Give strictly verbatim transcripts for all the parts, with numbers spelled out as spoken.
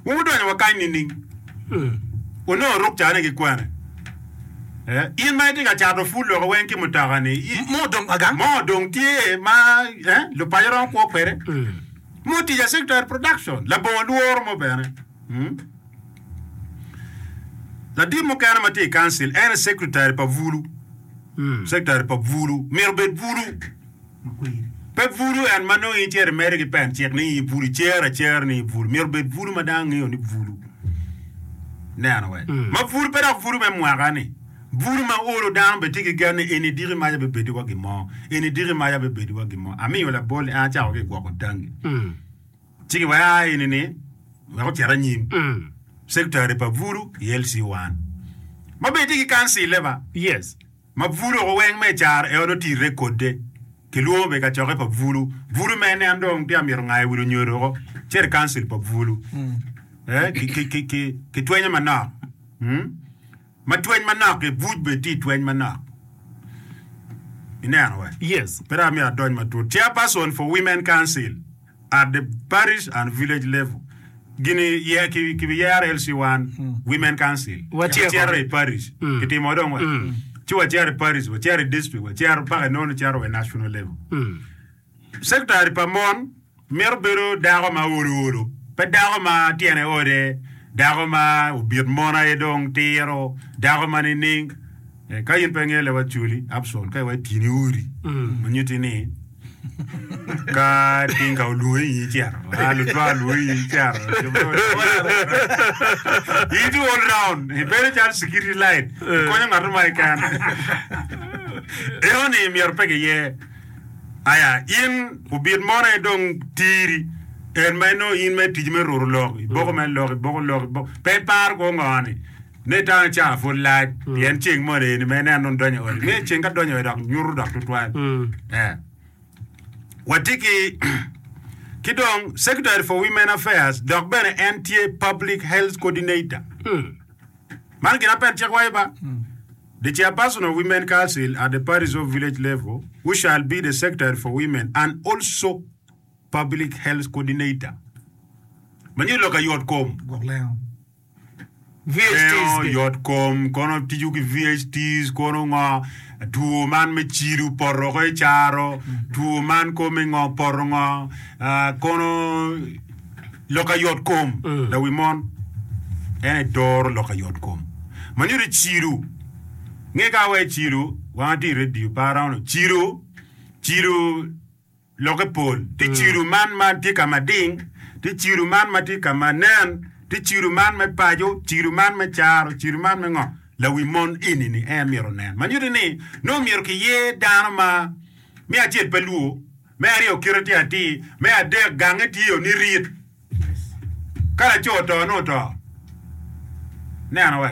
Wun wudonyo wa kany nining? Wunongo rukcane ki kwene? Eh, in ma itye ka cato pul loko weng ki mutoka-ni, i- Mo odong agang. mo odong tye ma eh, lupaco romo kwo kwede. Mo tic a secretary production labongo lworo mo bene. Mm. Ladit mukene ma tye i council en aye secretary pa bulu. Secretary pa bulu myero obed bulu. Pe bulu en ma nongo in icito imedo ki pen cik ni in bulu icero acera ni in bulu. Myero obed bulu ma dano ngeyo ni bulu. Ineno we? Ma bulu pe dok bulu me mwaka ni. Bulu ma olo dano bene tye ki gen ni eni diki maca bibedi wa gin mo. Eni diki maca bibedi wa gin mo. Amiyo labol ni an acako ki i gwoko tangi. Ci giwaco aa eni ni wek ocit anyim. Secretary pa bulu i L C one. Ma bene tye ki kancile ba. Yes. Ma bulu oko weng me caro en otirre kode. Kilwongo bene kacokke pa bulu. Bulu me en dong tye amito ngayo wi lunyodo oko. Cito i kancil pa bulu. Eh, ki, ki, ki, ki, ki twenyo manok. Hmm? Ma tweny manok-ki, buc bene tye i tweny manok. Ineno we? Yes. Pe dok amyero adony matut. Chairperson for Women Council at the parish and village level. Gini ye, ki, kibiyero L C one Women Council. Watyeko. Wacito i parish. Kitimo dong we. Ci wacito i parish, wacito i district, wacito paka inongo ni cito wa i national level. Secretary pa mon mito bedo dako ma olo olo, pe dako ma tyene ode, dako ma obit mon aye dong tiro, dako ma nining. Ka in pe ingeyo leb Acholi, Abson, ka iwaco tyeni odi, ma nyutti ni ka tinga olwongi in icito, a lutwa olwongi in icito. In itye all round, ibedo calo security light, ikonyo ngat mo keken. Eno-ni myero pe giye. Aya, in obit mono aye dong tiri, en ma inongo in ma i tic me ruto lok, iboko mere lok, iboko lok, iboko, pe iparo kor ngo ni, ne itamo ni cawa pud lac, pien ceng moni eni ma ineno dong donyo i odi, me ceng ka donyo i odi dok nyuto dok tutwal. Eh. Watye ki ki dong Secretary for Women Affairs dok bene en tye Public Health Coordinator. Man gin apen cik waco ba? The chairperson of Women Council at the parish or village level who shall be the secretary for women and also public health coordinator. Ma nyuto lok ayot kom. Gwok lengo. Lengo V H Ts gi. yot kom kono tiyo ki V H Ts kono ngo two man me cido poto oko i caro two man kome ngo poto ngo ah, kono lok ayot kom lawi mon en aye doro lok ayot kom ma nyuto cido nge ka awaco cido wang atye i radio pe aromo cido cido lokke pol tye cido man ma tye ka mading tye cido man ma tye ka ma nen tye cido man me paco cido man me caro cido man me ngo lawi mon eni-ni en myero onen ma nyuto ni nongo myero kiyer dano ma me acel pe lwor me aryo kite tye atir me adek gange tye ni rit ka laco oto nongo oto neno we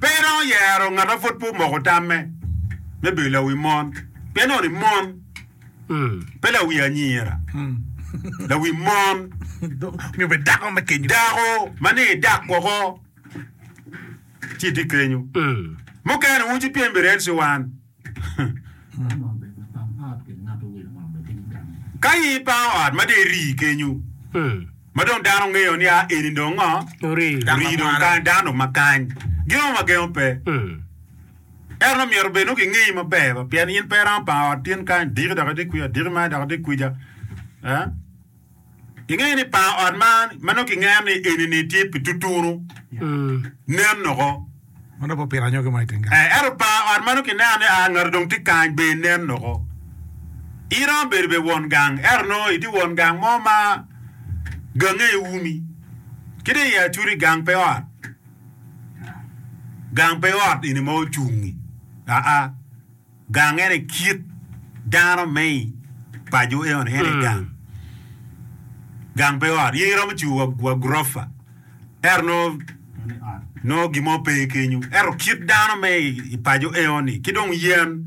pe iromo yero ngat ma pud pe omoko tamme me bedo lawi mon pien nongo ni mon pe lawi anyira lawi mon Myero obed dako me kenyo. Dako ma ni idak woko ci itye kenyo. Mukene wun ci pyem bene ci wan. Ka in ipango ot ma dong iri kenyo, ma dong dano ngeyo ni a eni dong ngo? Ori. Ori dong kany, dano dong ma kany. Gin mo ma gengo pe. Ento nongo myero bed nongo kingeyi maber ba, pien in pe iromo pango ot tin kany, diki dok itye kwica, diki man dok itye kwica. Eh? Ingeyo ni pango ot man ma nongo kingeyo ni eni-ni tye pi tutunu, nen oko. Ma nongo pe opito anyogi mo i teng gang. Eh, ento pango ot ma nongo kineno ni a ngati dong tye kany bene nen oko. Iromo bedo bene won gang, ento nongo itye won gang mo ma gange umi. Ki dong i Acholi gang pe ot. Gang pe ot eni ma ocungi. Aa, gang ene kit dano me i paco eno ene gang. Gang pe ot. In iromo cibo wa, wa gurofa. Ento nongo nongo gin mo pe kenyo. Ento kit dano me i paco eno-ni ki dong yen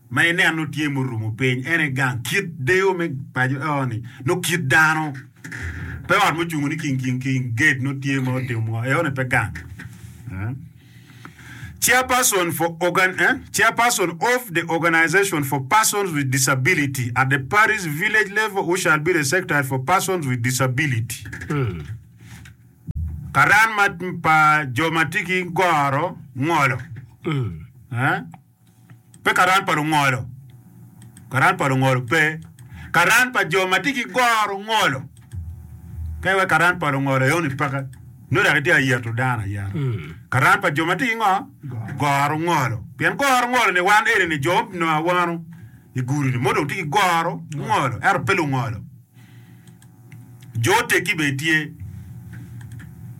ma ineno tye murumo piny en aye gang. Kit deyo me paco eno-ni nongo kit dano. Pe ot mucungo ni king king king gate nongo tye ma otimo ngo eno-ni pe gang. Eh? Chairperson for organ, eh? Chairperson of the Organization for Persons with Disability at the parish village level who shall be the secretary for persons with disability. Karan ma pa jo ma tye ki goro ngolo. Eh? Pe karan pa lungolo. Karan pa lungolo pe. Karan pa jo ma tye ki goro ngolo. Ka iwek karan pa lungolo eoni peke. Nongo dok itye ka yeto dano ayeta. Karan pa jo ma tye ki ngo? Goro ngolo. Pien goro ngolo ni wan eni ni jo onongo awano i gudi ni mo dong tye ki goro ngolo ento pe lungolo. Jo oteggi bene tye.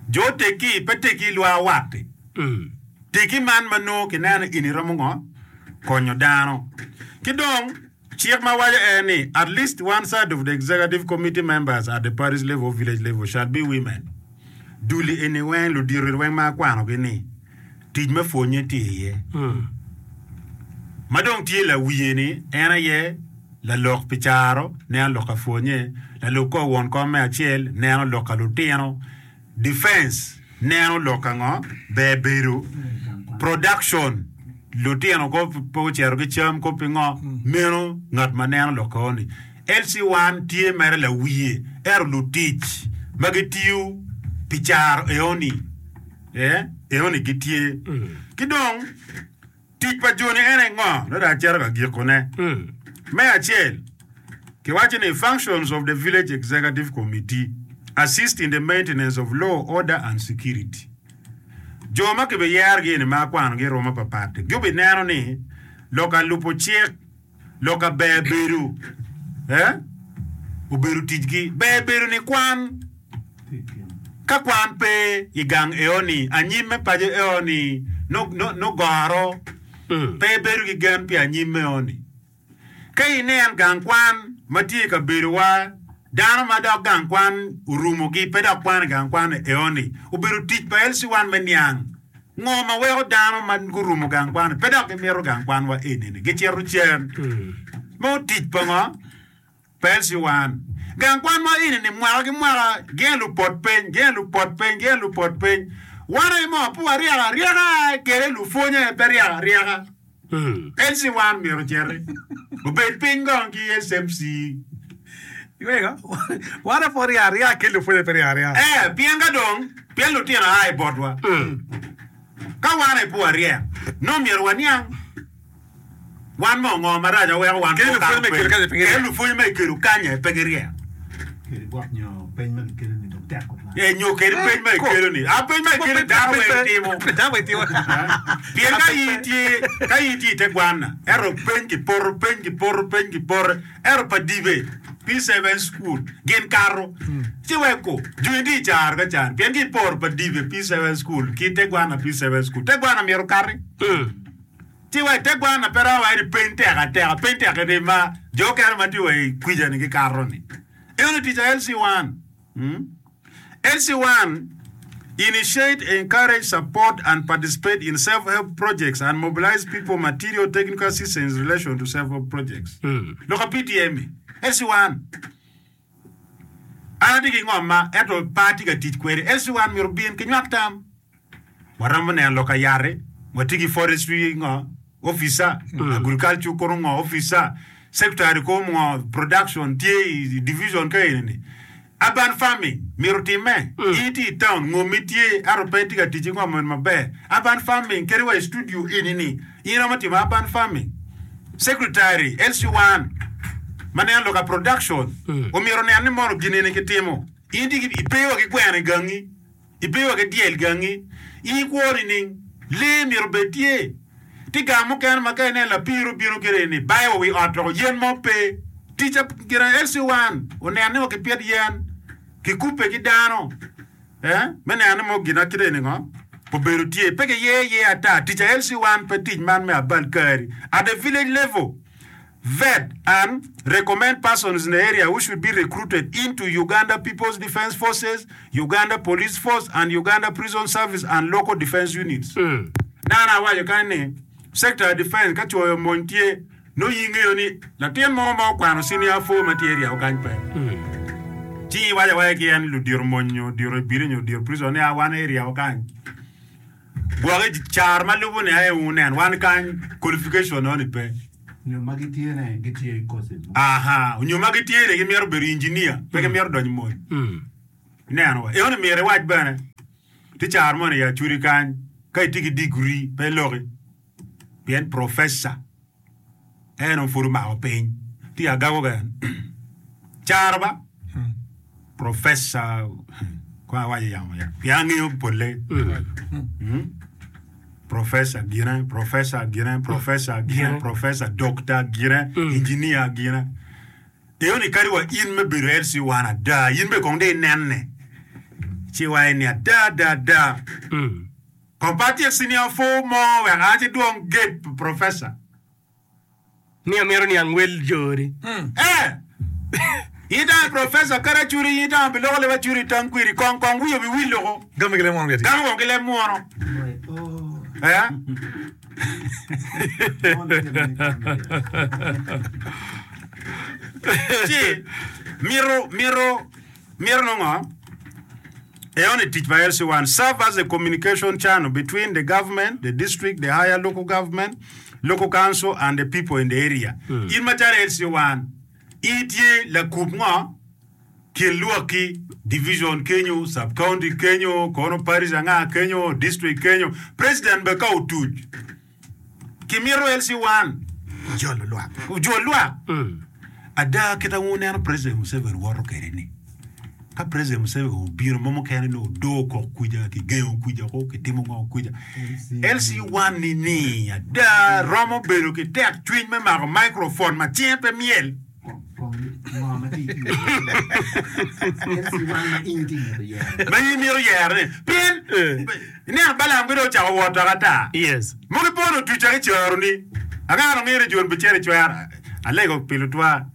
Jo oteggi pe teggi i lwar wat-ti. Teggi man ma nongo kineno ni eni romo ngo? Konyo dano. Ki dong, cik ma waco en ni, At least one third of the executive committee members at the parish level or village level shall be women. Duli eni weng, ludito weng ma akwanogi ni, tic me pwonye tye iye. Ma dong tye lawiye ni en aye lalok pi caro, neno lok ka pwonye, lalub kor won kom me acel, neno lok ka lutino, defense, neno lok ka ngo, ber bedo, production, lutino ko pe ocito ki cam ko pi ngo, meno ngat ma neno lok ka oni. L C one tye mere lawiye ento lutic ma gitiyo pi caro eoni, eh, eoni gitye. Ki dong tic pa joni en aye ngo? Nongo dong acito ka gikone. Me acel, kiwaco ni functions of the village executive committee assist in the maintenance of law, order and security. Jo ma kibiyerogi eni ma akwanogi i rwom mapapat-ti gubineno ni lok alubo cik, lok aber bedo, eh, obedo ticgi. Ber bedo ni kwan. Ka kwan pe i gang eoni, anyim me paco eoni nongo goro, pe ibedo ki gen pi anyim eoni. Ka inen gang kwan ma tye i kabedowa, dano ma dok gang kwan orumogi pe dok kwano i gang kwan eoni. Obedo tic pa L C one me niang ngo ma weko dano ma gurumo gang kwan-ni pe dok gimito gang kwanwa eni-ni gicito cen. Meno tic pa ngo? Pa L C one. Gang kwan ma eni-ni mwaka ki mwaka gin lupot piny, gin lupot piny, gin lupot piny. Wan aye mo pe waryeko aryeka kede lupwonye aye pe ryeko aryeka. L C one myero ociti obed piny kong ki S M C. Iweko, wan aye pe waryeko aryeka kede lupwonye pe ryeko aryeka. Eh, pien ka dong, pien lutino a i botwa. Ka wan aye pe waryek, nongo myero waniang. Wan mo ngo marac ma weko wan pe Kede okato lupwonye ma ikelo peny? kany aye pe Kede giryek. lupwonye ma ikelo kany aye pe giryek. Kede gwok nyo peny ma gikelo-ni dong tek tutwal. Eh, nyo kede peny ma Ko. ikelo-ni. A peny ma ikelo dano Peny weng pe- timo. Dano weng timo. Pien ka in itye, ka in itye i te gwanna, ento peny kipoto, peny kipoto, peny kipoto, ento pa dibe, P seven school, gin kato. Ci weko, joni tye i caro ka can, pien ki iporo pa dibe P seven school ki te gwanna P seven school. Te gwanna myero okati. Ci wa i te gwanna pe romo waco ni peny tek ateka, peny tek kede ma jo okene ma tye wa i kwica-ni gikato-ni. Eno tic a L C one. L C one initiate, encourage, support and participate in self-help projects and mobilize people, material, technical assistance in relation to self-help projects. Lok a P T M-mi. L C one. An atye ki ngom ma ento pe atye ka tic kwede. L C one myero obin ki nywak tam. Waromo neno lok ayat-ti, watye ki forestry ngo, officer, agriculture kono ngo, officer, secretary kono ngo, production tye i division ka eni-ni. Urban farming myero otimme. In itye i town, ngommi tye ento pe itye ka tic ki ngom meno maber. Urban farming kadi wa i studio eni-ni, in iromo timo urban farming. Secretary, L C one, ma neno lok a production, omyero onen ni mono gin eni kitimo. In itye ki, ipe wa ki gweno i gangi. Ibedo wa ki dyel gangi, in ikwo nining? Lee myero obed tye. Tye gang mukene ma ka ineno lapir obino kede ni bayo wa wi ot doko yen mo pe. Tic a gin L C one oneno ni wa kipit yen, kikubbe ki dano eh, me neno ni mo gin a kite ni ngo obedo tye. Pe kiye iye ata. Tic a L C one pe tic man me abal kari. At the village level, vet and recommend persons in the area who should be recruited into Uganda People's Defence Forces, Uganda Police Force and Uganda Prison Service and local defence units. Nana awaco kany ni sector defence ka coyo mony tye nongo in ingeyo ni latin mo ma okwano senior four ma tye area kany pe. Ci iwaco awaca ki en ludito mony nyo odito ibili nyo odito prison ni a wan area kany. Gwoki car ma lubo ni aye wunen wan kany qualification noni pe. Nyo ma gitye-ne gitye i courses mo. Aha, nyo ma gitye-ni gimito bedo engineer, pe gimito donyo i mony. Ineno wa? Eno ni myero iwac bene. Tye caro moni i Acholi kany, ka itye ki digri pe iloki pien professor en dong pud omako piny. Tye agago keken. Caro ba? Professor kong awaco yamo ya pien angeyo polle. Mm. Professor gine, professor gine, professor gine, professor, doctor gine, engineer gine. Eyo ni kadi wa in me bedo L C one ada, in bene kong dong inenne. Ci iwaco ni ada ada ada. Kong pe atyek senior four mo wek a ci dwong gate pa professor. Ni amito niang wel jori. Eh! In itamo professor kadi acuri in itamo pi loko leb acuri itang kwiri kong kong wiyi obi wil loko. Gami ki leb mwono giti. Gami woko ki leb mwono. Eh? Ci mito mito mito nongo eoni tic pa L C one serve as a communication channel between the government, the district, the higher local government, local council and the people in the area. In macalo L C one in itye lakub ngo kin lwakki, division kenyo, sub county kenyo, kono parish anga kenyo, district kenyo, president bene ka otuc kimito L C one Jolo lwak. ojol lwak. Ada kit ma wuneno President Museveni woto kwede ni, ka President Museveni obino mo mukene nongo odoo kok kwija, kigengo kwija ko, kitimo ngo kwija. L C one ni ni ada romo bedo ki tek cwiny me mako microphone ma cinge pe myel. Ma in imito yero ni pien ineno Balaam ki dong ocako wot dok ata. Yes. Mogo ipono otuca ki coro ni anga dong ngeyo ni Jon bicito i cwero. Alego pi lutwa.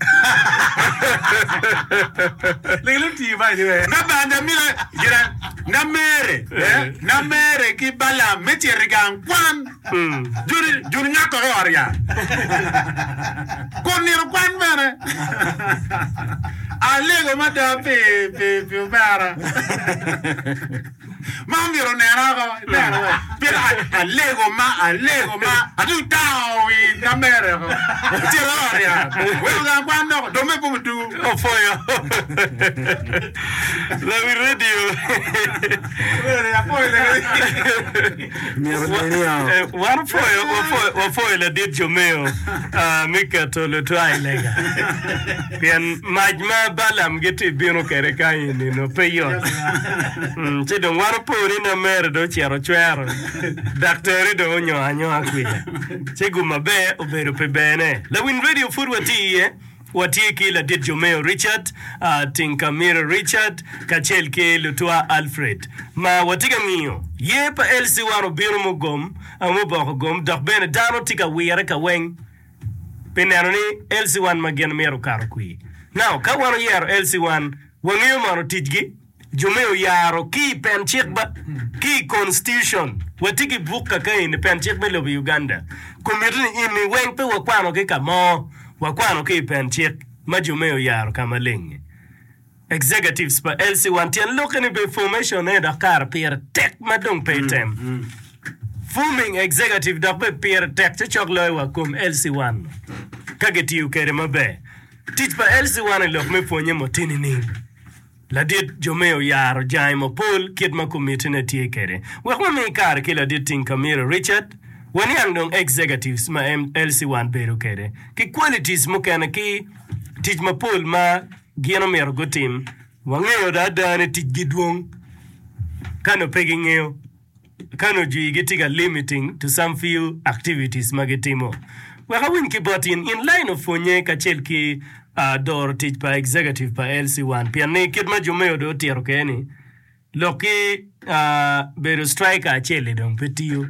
Legi lutii ba iye. Na banda mila gira na mere eh, na mere ki Balaam me cito i gang kwan. Joni joni ngako ki ot yat. Kun nino kwan bene. Alego mada pi pi pi omera. Ma omyero onena oko, ineno we. Pien a- alego ma alego ma atung tango wi na mere oko. Cito i ot yat. Weko gang kwan dok dong me bumo tuku. Opwoyo. Lawi radio. Myero bed ni o. Eh, wan opwoyo, wapwoyo, wapwoyo ladit Jomeo ah, me keto lutwa i lega. Pien mac ma Balaam gitye bino kwede kany i-nino pe yot. Mm, ci dong wan opo ni namere dong ocito ocwero, daktari dong onyongo anyonga kwija. Ci gum maber obedo pi berne. Lawiny radio pud watye iye. Watye ki ladit Jomeo Richard, Tinkamira Richard kacel ki Lutwa Alfred ma watye ka ngiyo. Yer pa L C one obino mugom, muboko gom dok bene dano tye ka wire ka weng pi neno ni L C one ma gin myero okato kwir. Now ka wan oyero L C one wangeyo mono ticgi? Jo me oyaro ki i pen cik ba, ki i constitution. Watye ki buk kaka eni, pen cik me lobo Uganda. Komiti ni eni weng pe wakwano ki ka mo, wakwano ki i pen cik ma jo me oyaro ka maleng-ngi. Executives pa L C one tyen lokke ni be formation ne dok kare pire tek ma dong pe item. Forming executive dok be pire tek cocok loyo wa kom L C one ka gitiyo kede maber. Tic pa L C one i lok me pwonye mo tye nining? Ladit Jomeo oyaro jange mapol kit ma komitine tye kwede. Wek wami kare ki ladit Tinkamira Richard, waniang dong executives ma L C one bedo kwede ki qualities mukene ki tic mapol ma gin omyero gutim. Wangeyo do ada ni ticgi dwong ka nongo pe gingeyo. Ka nongo jwi gitye ka limiting to some few activities ma gitimo. Wek awiny ki bot in, in line of pwonye kacel ki doro tic pa executive pa L C one pien ni kit ma Jumeo dong otito kwede ni lok ki bedo striker acel-li dong pe tiyo.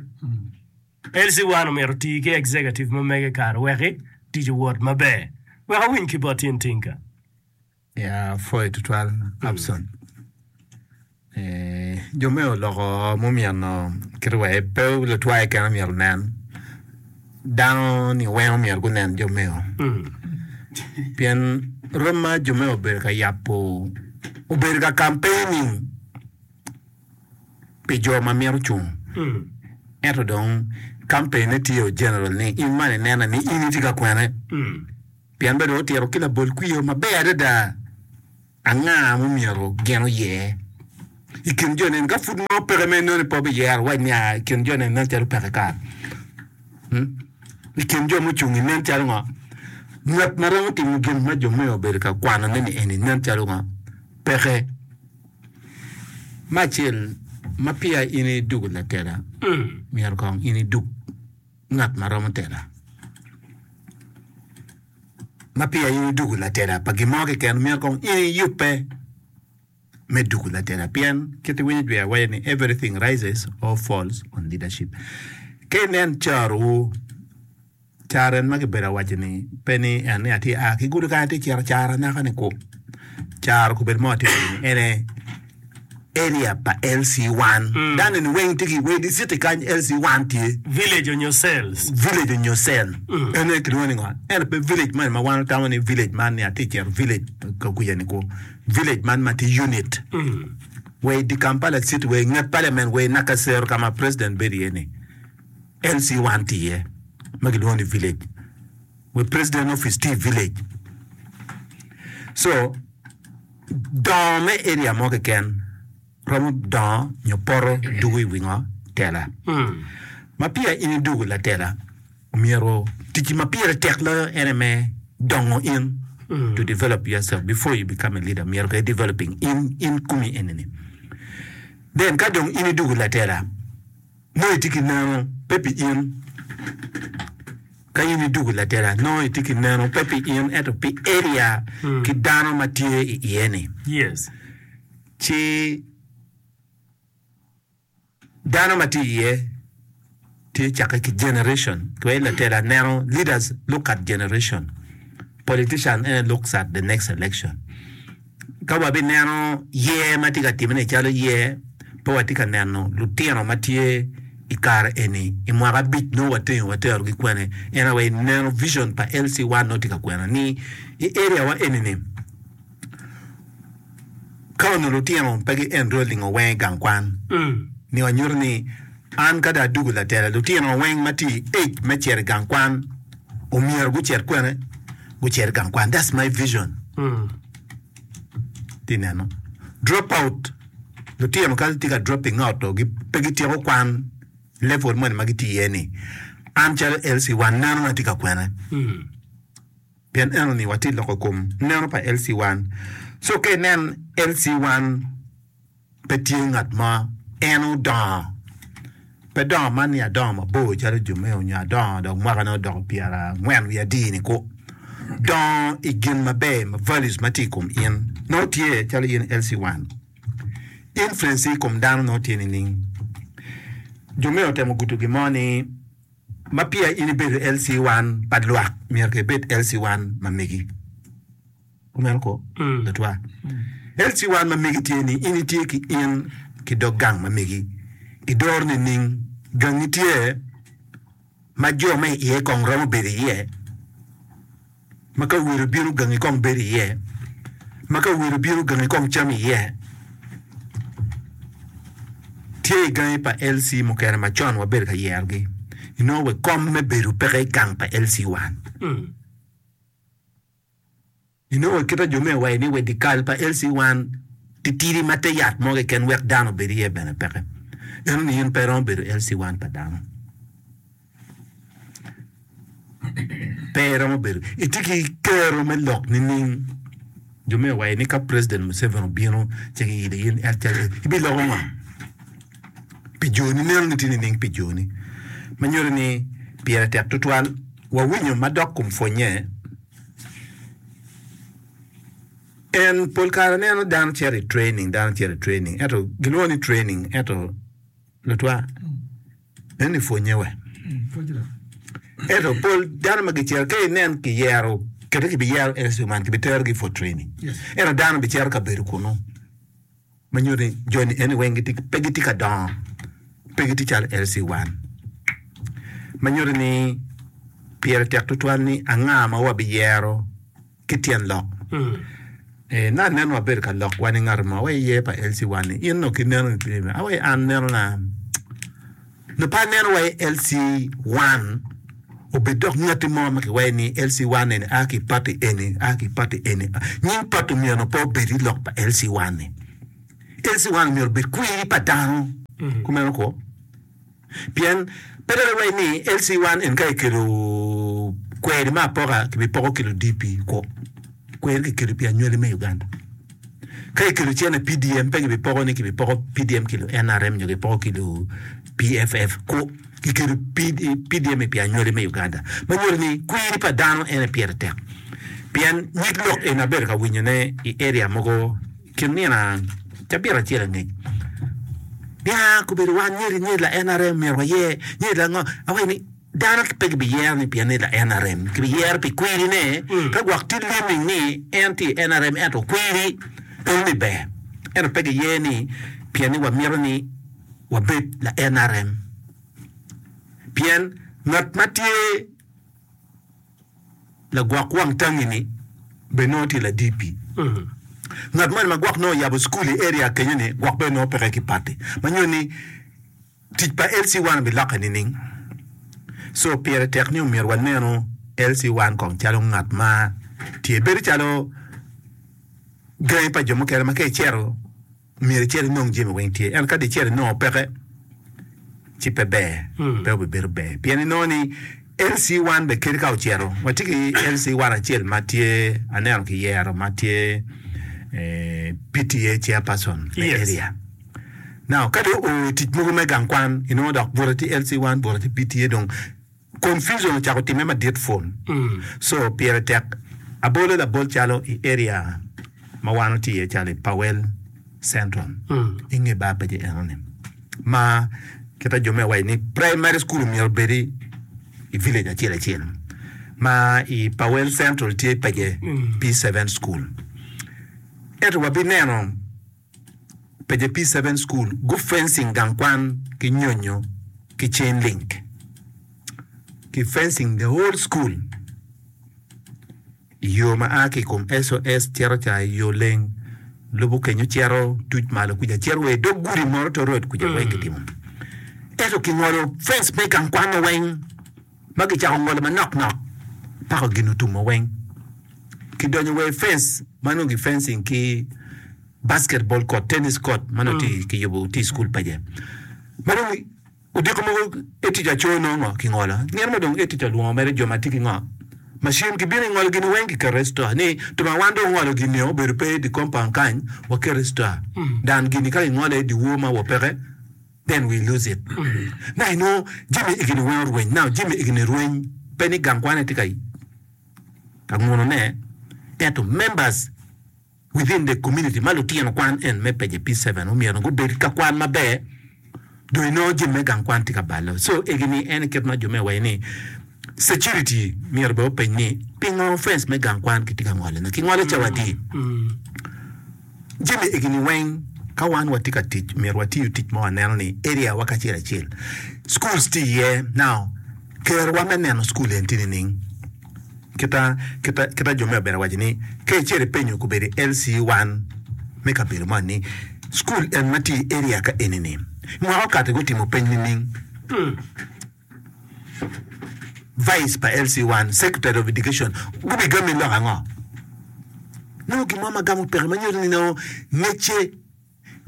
L C one omyero oti ki executive ma mege kare weki tic owot maber. Wek awiny ki bot in Tinka. Ya apwoyo tutwal Abson. Eh, jo me oloko mumyeno kite wa pe lutwa keken myero onen dano ni weng omyero gunen jo meo pien rom ma jo meo obedo ka yabo obedo ka campaigning pi jo ma mito cung ento dong campaign ne tye o general ni in man inene ni in itye ka kwene Pien bene otito ki labol kwir maber adada anga mumyero gin oyer. I kin jo neni ka pud mo peke me noni pe obiyero wac ni i kin jo neni nen calo peke kare. I kin jo mucung-ngi nen calo ngo? Ngat ma romo timo gin ma jo me obedo ka kwanone ni eni nen calo ngo? Peke. Me acel, ma peya in idwogo latela, myero kong in idug ngat ma romo tela. Ma peya in idwogo latela pa gin mo keken, myero kong in iyubbe me dwogo latela pien kit iwinyo jwi awaco ni everything rises or falls on leadership. Ka inen carowu, caro en ma kibedo awaco ni pe ni en ni atye a ki gudo kany atye cito caro anaka ni ku. Caro obedo mo atye waco ni ene area pa L C one. Dano eni weng tye ki weng city kany L C one tye. Village onyo cells. Village onyo cell. En aye kilwongo ni ngo? Ento pe village moni ma wan watamo ni village man ni atye cito village ka kwica ni ku. Village man ma tye unit. Wa i dye Kampala city, wa i nget parliament, wa i Nakasero ka ma president bedo iye ni L C one tye iye ma kilwongo ni village. Wa president office tye i village. So dongo me area mo keken romo dongo nyo poto dugo i wi ngo? Tela. Ma peya in idwogo latela, omyero ticci ma pire tek loyo en aye me dongo in, to develop yourself before you become a leader, myero kong i developing in in komi eni-ni. Then ka dong in idwogo latela, nongo itye ki neno pe pi in. Ka in idwogo latela, nongo itye ki neno pe pi in ento pi area ki dano ma tye i iye-ni. Yes. Ci dano ma tye iye tye cakke ki generation. Wai latela neno leaders look at generation. Politician ene looks at the next election. Ka wabineno yer ma tye ka timone calo yer, pe watye ka neno lutino ma tye i kare eni i mwaka abic nongo watengo waterogi kwene. En aye neno vision pa L C one nongo tye ka kwena ni i area wa eni ni ka onongo lutino pe gi enrolling weng i gang kwan ni wanyuto ni an ka dong adwogo latela lutino weng ma tye i age me cito i gang kwan omyero gucit kwene gucit i gang kwan. That's my vision. Tye neno drop out lutino ka tye ka dropping out to pe gityeko kwan level moni ma gitye iye ni an calo L C one neno na tye ka kwene pien eno ni watye loko kom neno pa L C one so ka inen L C one pe tye ngat mo en odongo pe dongo man ni adongo mabor calo jo me onyo adongo dok mwakane odoko pyerangwen wiye adi-ni ku dongo i gin maber ma values ma tye i kom in nongo tye calo in L C one influence i kom dano nongo tye nining jo me otemo gudo gin mo ni ma peya in ibedo L C one pa lwak myero ka ibed L C one ma megi kumeno ko latwa L C one ma megi tye ni in itye ki in ki dog gang ma megi idoro nining gangi tye ma jo ma iye kong romo bedo iye ma ka welo bino gangi kong bedo iye ma ka welo bino gangi kong cam iye tye i gangi pa L C mukene macon wabedo ka yerogi inongo we kom me bedo peke i gang pa L C one inongo kita jo me waco ni we dikal pa L C one titidi ma te yat mo keken wek dano obed iye bene peke eno ni in pe iromo bedo L C one pa dano pe iromo bedo itye ki kero me lok nining jo me waco ni ka president Museveni obino ci kiyilo in ibiloko ngo pi joni neno ni tye nining pi joni ma nyuto ni pire tek tutwal wawinyo madok kom pwonye en pol kare aneno dano cito i training dano cito i training ento gilwongo ni training ento lutwa en ni pwonye we ento pol dano ma gicito ka inen kiyero kede kibiyero L C man kibiterogi for training ento dano bicito ka bedo kunu ma nyuto ni joni eni weng pe gitye ka dongo pe gitye calo L C one ma nyuto ni pire tek tutwal ni anga ma wabiyero ki tyen lok eh, na aneno wabedo ka lok wan i ngat mo wa iye pa L C one ni in no ki neno awa an neno na no pa aneno wa i L C one obed dok ngati mo ma kiwaco ni L C one eni a ki party eni a ki party eni nying party myero pe obed i lok pa L C one ni L C one myero obed kwiri pa dano kumeno ko pien pe dok iwaci ni L C one en ka ikelo kweri me apoka kibipoko kilo D P ko kweri kikelo pi anywali me Uganda. Ka ikelo cene P D M pe kibipoko ni kibipoko P D M kilo N R M nyo kipoko kilo P F F ko kikelo P D M pi anywali me Uganda ma nyuto ni kwiri pa dano en pire tek pien nyig lok en abedo ka winyone i area mogo kin nino cabit acel angec nia kobedo wan nyeri nyeri la N R M myero wayer nyeri la ngo awaci ni dano pe kibiyero ni pien ni la N R M kibiyero pi kwirine ka gwok tye leaning ni en tye i N R M ento kwiri en ni ber ento pe giye ni pien ni wamito ni wabed la N R M pien ngat ma tye lagwok wang tangi-ni bene nongo tye la D P ngat moni ma gwok nongo oyabo cukul i area kenyo ni gwok bene nongo peke ki party ma nyuto ni tic pa L C one bilokke nining. So pire tek ni omyero waneno L C one kong calo ngat ma tye bedo calo gangi pa jo mukene ma ka icito myero icit inong jami weng tye ento ka di icito inongo peke ci pe ber pe obibedo ber pien inongo ni L C one be kadi ka ocito watye ki L C one acel ma tye aneno kiyero ma tye eh, P T A chairperson me Yes. area. Now ka dong oo i tic mogo me gang kwan inongo dok bute tye L C one bute tye P T A dong confusion ocako timme madit fun. So pire tek abolo labol calo i area ma wan otye iye calo i Pawel Central i nge bar peje enoni ma kita jo me waco ni primary school myero obedi i village acel acel ma i Pawel Central tye peje P seven school ento wabineno peje P seven school gu fencing gang kwan ki nyonyo ki chain link ki fencing the whole school i yo ma a ki i kom S O S cito ca i yo leng lubo kenyo cito tuc malo kuca cito wa i dog gudi moro to road kuca weng kitimo ento kingolo fence me gang kwan weng ma kicako ngolo manok nok paka gin otumo weng kidonyo wa i fence ma nongo ki fencing ki basketball court, tennis court ma nongo tye kiyubo tye i school peje ma dong odiko mogo etic aco nongo kingolo nino mo dong etic olwongo mere jo ma tye ki ngo machine kibino ingolo gini weng kiketo i store ni to ma wan dong ongolo gini obedo pe i di compound kany waketo i store dan gini ka kingolo i di wor ma wapeke then we lose it. Na inongo jami egini weng orweny. Now jami egini rweny pe ni gang kwan tye ka ka ngunone ento members within the community ma lutino kwan en me peje P seven omyero gubed ka kwan maber dong inongo jami me gang kwan tye ka balo. So egini en kit ma jo me waco ni security myero bene openy ni pingo fence me gang kwan kitye ka ngolone kingolo cawa adi jami egini weng ka wan watye ka tic myero watiyo tic ma waneno ni area wa kacel acel schools tye iye. Now kerowa me neno school en tye nining kita kita kita jo me obedo waco ni ka icito ipenyo kobedo L C one me kabedo mo ni school en ma tye i area ka eni-ni mwaka okato gutimo peny nining vice pa L C one, secretary of education gubigami lok ango nongo gin mo ma gamo peke ma nyuto ni nongo ngecce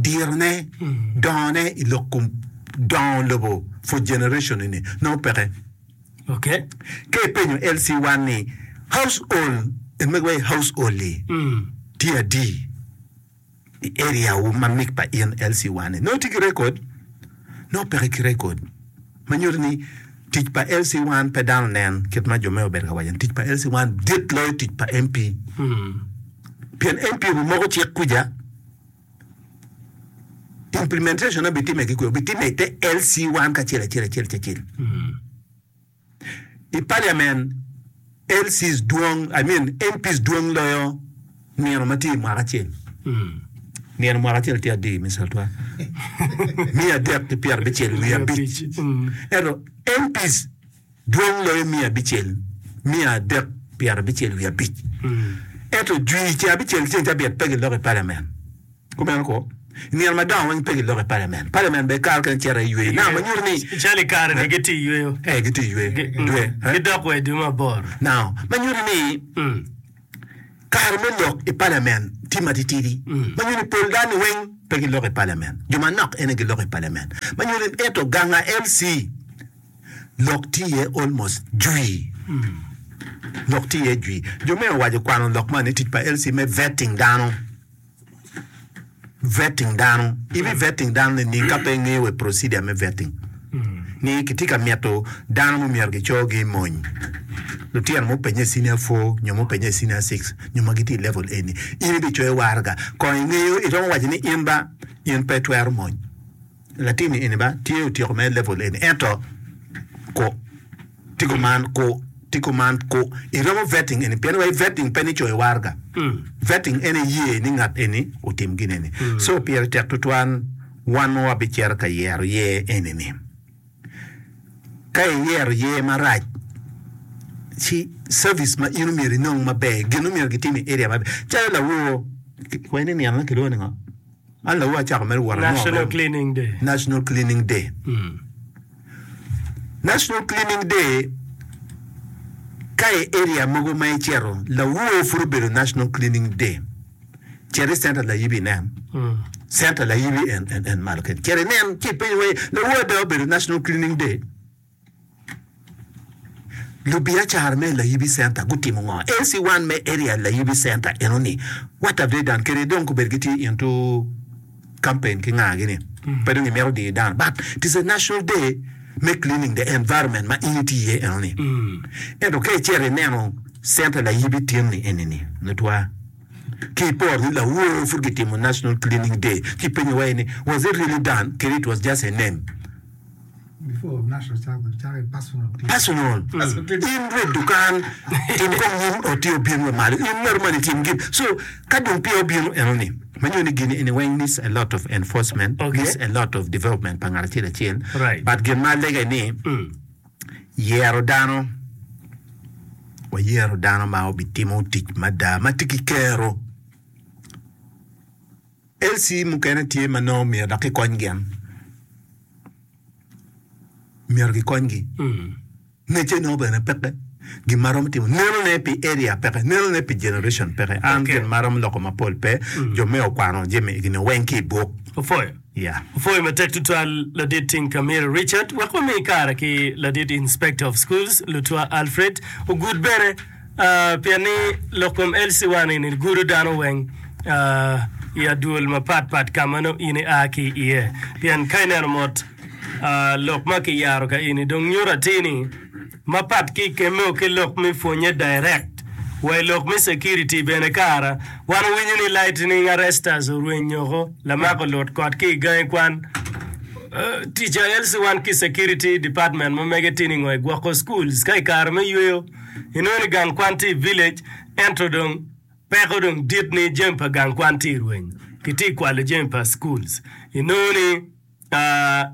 dirone dongone i lok kom dongo lobo for generation ni nongo peke. Okay. Ka ipenyo L C one ni household en mege waci household-li tye adi i area wu ma mig pa in L C one ni nongo tye ki record nongo peke ki record ma nyuto ni tic pa L C one pe dano nen kit ma jo me obedo ka waco ni tic pa L C one dit loyo tic pa M P pien M P obimoko cik kuja implementation obitime ki kwe obitime i te L C one kacel acel acel acel i parliament. L Cs dwong, I mean M Ps dwong loyo nino ma tye i mwaka acel nino mwaka acel tye adi Mister Otwa miya adek ki pyera abicel wiye abic ento M Ps dwong loyo miya abicel miya adek pyera abicel wiye abic ento jwi ce abicel ceng cabit pe giloko i parliament kumeno ko nino madongo weng pe giloko i parliament parliament be kare kene cito i yweyo now ma nyuto ni Calo i kare ni gitye i yweyo. Eh gitye i yweyo dwe eh? Gidok wa i dwe mabor. Now ma nyuto ni Kare me lok i parliament tye matitidi. Ma nyuto ni pol dano weng pe giloko i parliament. Jo manok ene giloko i parliament. Ma nyuto ni ento ganga L C lok tye iye almost jwi. Lok tye iye jwi. Jo me owaco kwano lok man ni tic pa L C me vetting dano. Vetting dano. Ibi vetting dano nining ka pe ingeyo we procedure me vetting? Ni kitye ka mito dano mumyero gicogi i mony. Lutino mupenye i senior four nyo mupenye i senior six nyo ma gitye i level eni. In ibicoyo waraga. Kong ingeyo iromo waco ni in ba in pe itwero mony. Latin-ni eni ba tye otyeko mere level eni ento ku tye kuman ku tye kuman ku iromo vetting eni pien wai vetting pe ni coyo waraga. Vetting en iye ni ngat eni otim gin eni. So pire tek tutwal wan ma wabicito ka yero yer eni ni ka iyero yer marac ci service ma in omyero inong maber gin omyero gitim i area maber calo lawor wai ni nino ne kilwongo ni ngo? An lawor acako mere wot anongo National mere Cleaning Day. National Cleaning Day. National Cleaning Day ka i area mogo ma icito lawor pud obedo National Cleaning Day. Cit i center layibi inen. Center layibi en, en, en malo kene. Cit inen ci ipenyo wai lawor ada obedo National Cleaning Day. Lubiacara me Layibi Center gutimo ngo? L C one me area Layibi Center eno ni what have they done? Kede dong kobedo gitye into campaign ki nga gini. Pe dong imito diyo dano. But it is a national day me cleaning the environment ma in itye iye eno ni. Ento ka icito ineno center Layibi tin ni eni ni nutwa. Ki iporo ni lawor pud gitimo national cleaning day ci ipenyo wai ni was it really done? Kede it was just a name. Before national cako cako personal cleaning. Personal. In rwed dukan tim kong nyim oti obin wa malo. In ngat moni tim gin. So ka dong peya obino eno ni manyo ni gini eni weng needs a lot of enforcement, Okay. needs a lot of development pa ngat acel acel. Right. But gin ma alega ni yero dano wayero dano ma obitimo tic mada ma tye ki kero. L C mukene tye ma nongo myero dok kikony gin. Myero gikonygi. Ngecce nongo bene peke. Gin ma romo timo nenone pi area peke, nenone pi generation peke. An Okay. gin ma romo loko mapol pe, jo me okwano jami gin weng ki i buk. Opwoyo. Yeah. Opwoyo matek tutwal ladit Tinkamira Richard. Wek wami kare ki ladit Inspector of Schools Lutwa Alfred ogud bene uh, pien ni lok kom L C one ni gudo dano weng uh, i adwol mapat pat ka ma nongo in ia ki iye. Pien ka ineno mot uh, lok ma kiyaro ka ini dong nyuto atir ni mapat ki kemo ki lok me pwonye direct wa i lok me security bene kara wan owinyo ni lightning arresters orwenyoko lamako lut kot ki i gangi kwan. Uh, tic a L C one ki security department ma mege tye ni ngo i gwoko schools ka i kare me yweyo inongo ni gang kwan tye i village ento dong peko dong dit ni jami pa gang kwan tye i rweny kitye i kwalo jami pa schools inongo ni uh,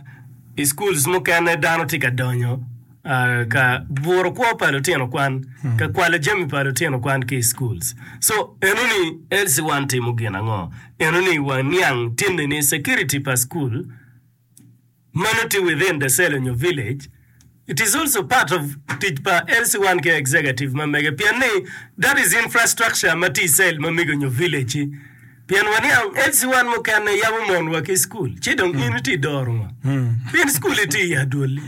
i schools mukene dano tye ka donyo uh, ka buro kwo pa lutino kwan ka kwalo jami pa lutino kwan ki i schools. So eno ni L C one timo gin ango? Eno ni waniang tinni ni security pa school mano tye within the cell nyo village. It is also part of tic pa L C one ki executive ma mege pien ni that is infrastructure ma tye i cell ma mego nyo village pien waniang L C one mukene yabo mon wa ki school ci dong in itye i doro ngo pien school itye i adwolli.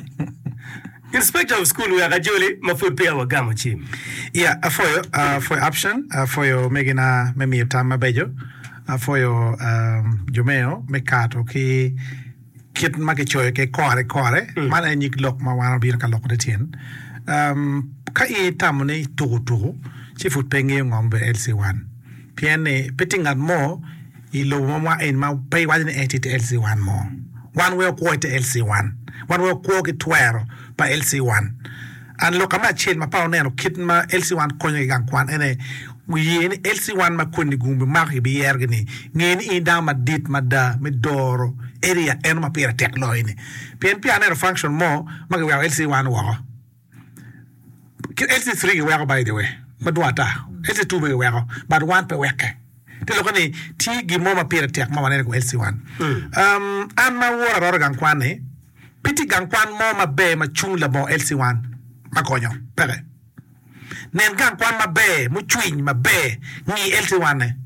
Inspector of school wek ajoli ma pud peya wagamo cim. Yeah, apwoyo apwoyo option apwoyo megina me miyo tam mabeco apwoyo um, jomeo me kato ki kit ma kicoyo ki kore kore man en nyig lok ma wan obino ka loko tyen um, ka in itamo ni tuku tuku ci pud pe ingeyo ngo mabedo L C one pien ni pe tye ngat mo i lobo ma mwa en ma pe iwaco ni en tye i L C one mo. Wan wek okwo i te L C one, wan wek okwo ki twero pa L C one. An lok me acel ma pa oneno kit ma L C one konyo ki gang kwan ene ye ni L C one ma koni gumbi mako kibiyerogi ni nge ni in dano madit mada me doro area eno ma pire tek loyo ni pien pi aneno function mo ma kiweko L C one woko. Ki L C three giweko, by the way, madwong ata L C two be giweko, but one pe weke te loko ni tye gin mo ma pire tek ma waneno i kom L C one. um, an ma wora aroro gang kwan ni pe tye gang kwan mo maber ma cung labongo L C one ma konyo peke. Nen gang kwan maber mucwiny maber ngi L C one ne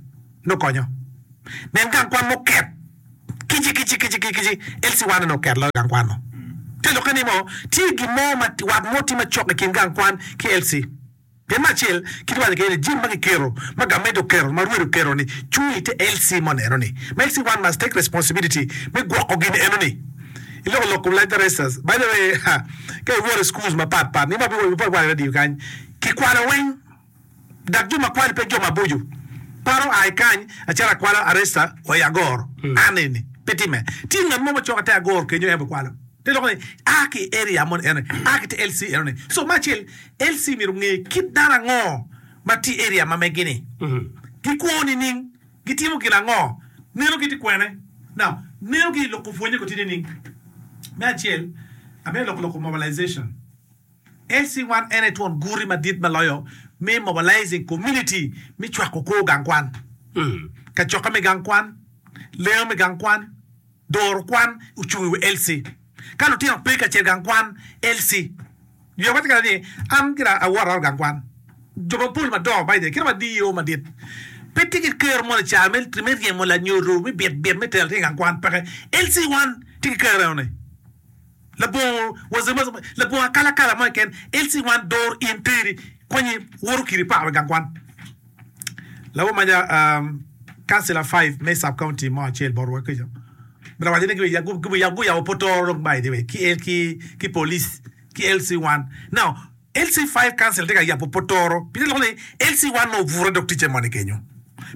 nongo konyo. Nen gang kwan muket kici kici kici kici L C one ne nongo oket loyo gang kwan no. Te lokke ni mo tye gin mo ma wat mo tye macok i kin gang kwan ki L C. Pien me acel, kit waco kwede ni jami ma kiketo, ma gamente oketo, ma rwed oketo ni cung i te L C moni eno ni. Ma L C one must take responsibility me gwoko gin eno ni. Iloko lok kom light arresters. By the way, ha, ka iwoto i schools mapat pat, ni ma pe wa i radio kany, kikwalo weng. Dok jo ma kwalo pe jo maboco. Paro a i kany, acito akwalo arrester wa i agoro. An eni, pe time. Tye ngat mo macok ite agoro kenyo en obikwalo. Te loko ni a ki i area moni eno ni, a ki te L C eno ni. So me acel, L C myero onge kit dano ango ma tye i area ma megi ni. Gikwo nining? Gitimo gin ango? Neno gi tye kwene? Now, neno gi i loko pwonye ko tye nining? Me acel, amito loko loko mobilization. L C one en aye twon guti madit ma loyo me mobilizing community me cwako kor gang kwan. Kacokke me gang kwan, lengo me gang kwan, Doro kwan ocung i wi L C. Ka lutino pe ka cito i gang kwan, L C. Myero wawac kede ni, an gira awot aot gang kwan. Jo mapol madongo by the way, kit ma D E O madit pe tye ki kero mo nicar me me ryemo lanyodo me bit bit me tero latin i gang kwan peke. L C one tye ki kero enoni. Labongo wazimazi labongo akalakala mo keken, L C one doro in teri konyi woto kidi paro i gang kwan. Lawor maca Councilor five me sub county mo acel botwa kica bene owaco ni guyabo potoro dong by the way ki ki police ki L C one now L C five council tye ka yabo potoro pi lok ni L C one nongo obute dog ticce moni kenyo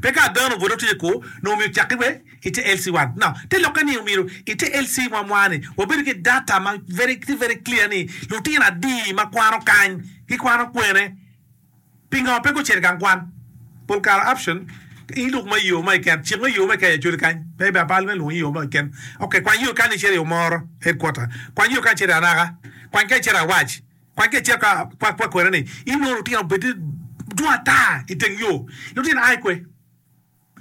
pe ka ada nongo obute dog ticce ku nongo myero ocaki we ite L C one now te lokke ni myero ite L C mwa mwa ni wabedo ki data ma very tye very clear ni lutino adi ma kwano kany gikwano kwene. Pingo pe gucito i gang kwan? Pol kare option in luk ma yo mo keken, cik me yo mo keken aye cwali kany. Pe ibe abal me lwongo yo mo keken. Ok, kwany yo kany icito i Omoro headquarter, kwany yo kany icito i Anaka, kwany ka icito i Awac, kwany ka icito ka kwa kwa kwene ni inongo lutino obed dwong ata i teng yo. Lutino a i kwe.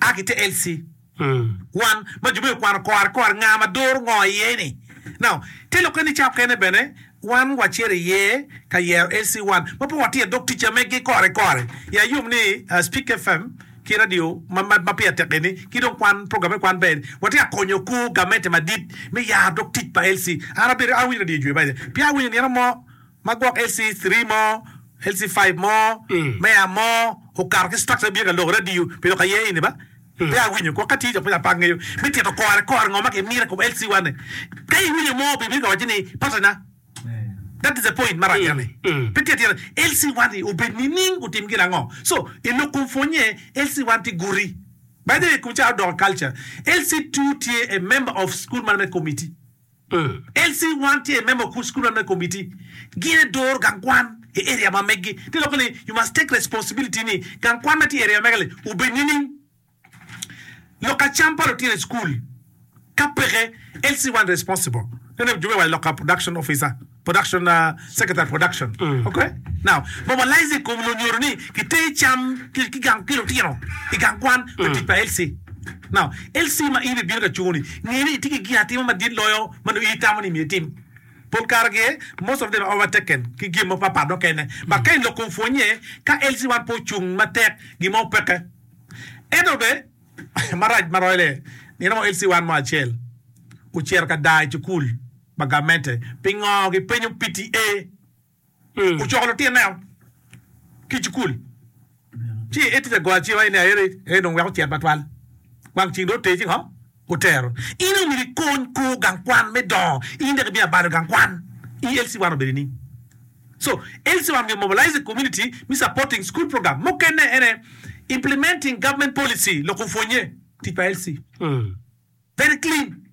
A ki te L C one ma jo me okwano kore kore nga ma doro ngo iye ni. Now, te lokke ni ca okene bene wan wacito iye ka yero L C one ma pe watye dog ticca megi kore kore. I ayom ni Speak F M ki radio ma ma pire tek eni ki dong kwan program me kwan ber watye ka konyo kor gamente madit me yaro dog tic pa L C. An abedo awinyo radio jwe by the way pien awinyo nino mo ma gwok L C three mo, L C five mo, meya mo okato ki structure bino ka lok radio pi lok aye eni ba pe awinyo gwok ka tye jo pe apak ngeyo me tito kore kore ngo ma ki mito i kom L C one ni ka iwinyo mo bi bino ka waci ni patana that is the point marac eni pe tye atira L C one ni obed nining otim gin ango so i lok kom pwonye L C one tye guti by the way kom ca odoko culture L C two tye a member of school management committee. L C one tye member of school management committee gin aye doro gang kwan i area ma meggi te lokke ni you must take responsibility ni gang kwan ma tye i area ma mega li obed nining lok acam pa lutino i school ka peke L C one responsible nene jo me waco lok production officer production secretary production ok now mobilize i kom lunyodo ni ki ter cam ki gang ki lutino i gang kwan me tic pa L C Now, L C ma in ibino ka cungo ni, nge ni itye ki gin atima madit loyo ma nongo in itamo ni myero itim. Pol kare gi, most of them are overtaken ki gin mo papat mukene. But ka i lok kom pwonye, ka L C one pe ocung matek, gin mo peke. Ento be, marac ma royle, nino mo L C one mo acel ocito ka daa i cukul pa gamente. Pingo gipenyo P T A? Ocoko lutineo ki i cukul, ci etye ka goyo acima ni aye en dong wek ocit matwal. Wang ceng dong oter ci ngo? Otero. In omyero ikony kor gang kwan me dongo. In dok ibino abalo gang kwan. I L C one obedo nining? So, L C one myero mobilize the community me supporting school program. Mukene ene implementing government policy loko pwonye tic pa L C. Very clean.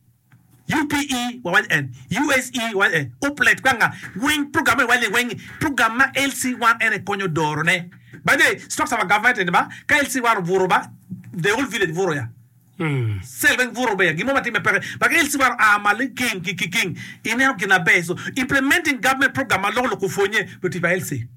U P E wawaco en, U S E wawaco en, Uplet kwanga weng program me waco ni weng program ma L C one en aye konyo doro ne. By the way, structure pa government eni ba, ka L C one oburo ba, the whole village buro ya. Cell weng buro be ya, gin mo ma timme peke. But ka L C one oa malo i king ki king, ineno gin aber. So, implementing government program ma loko lok opwonye, lutic pa L C.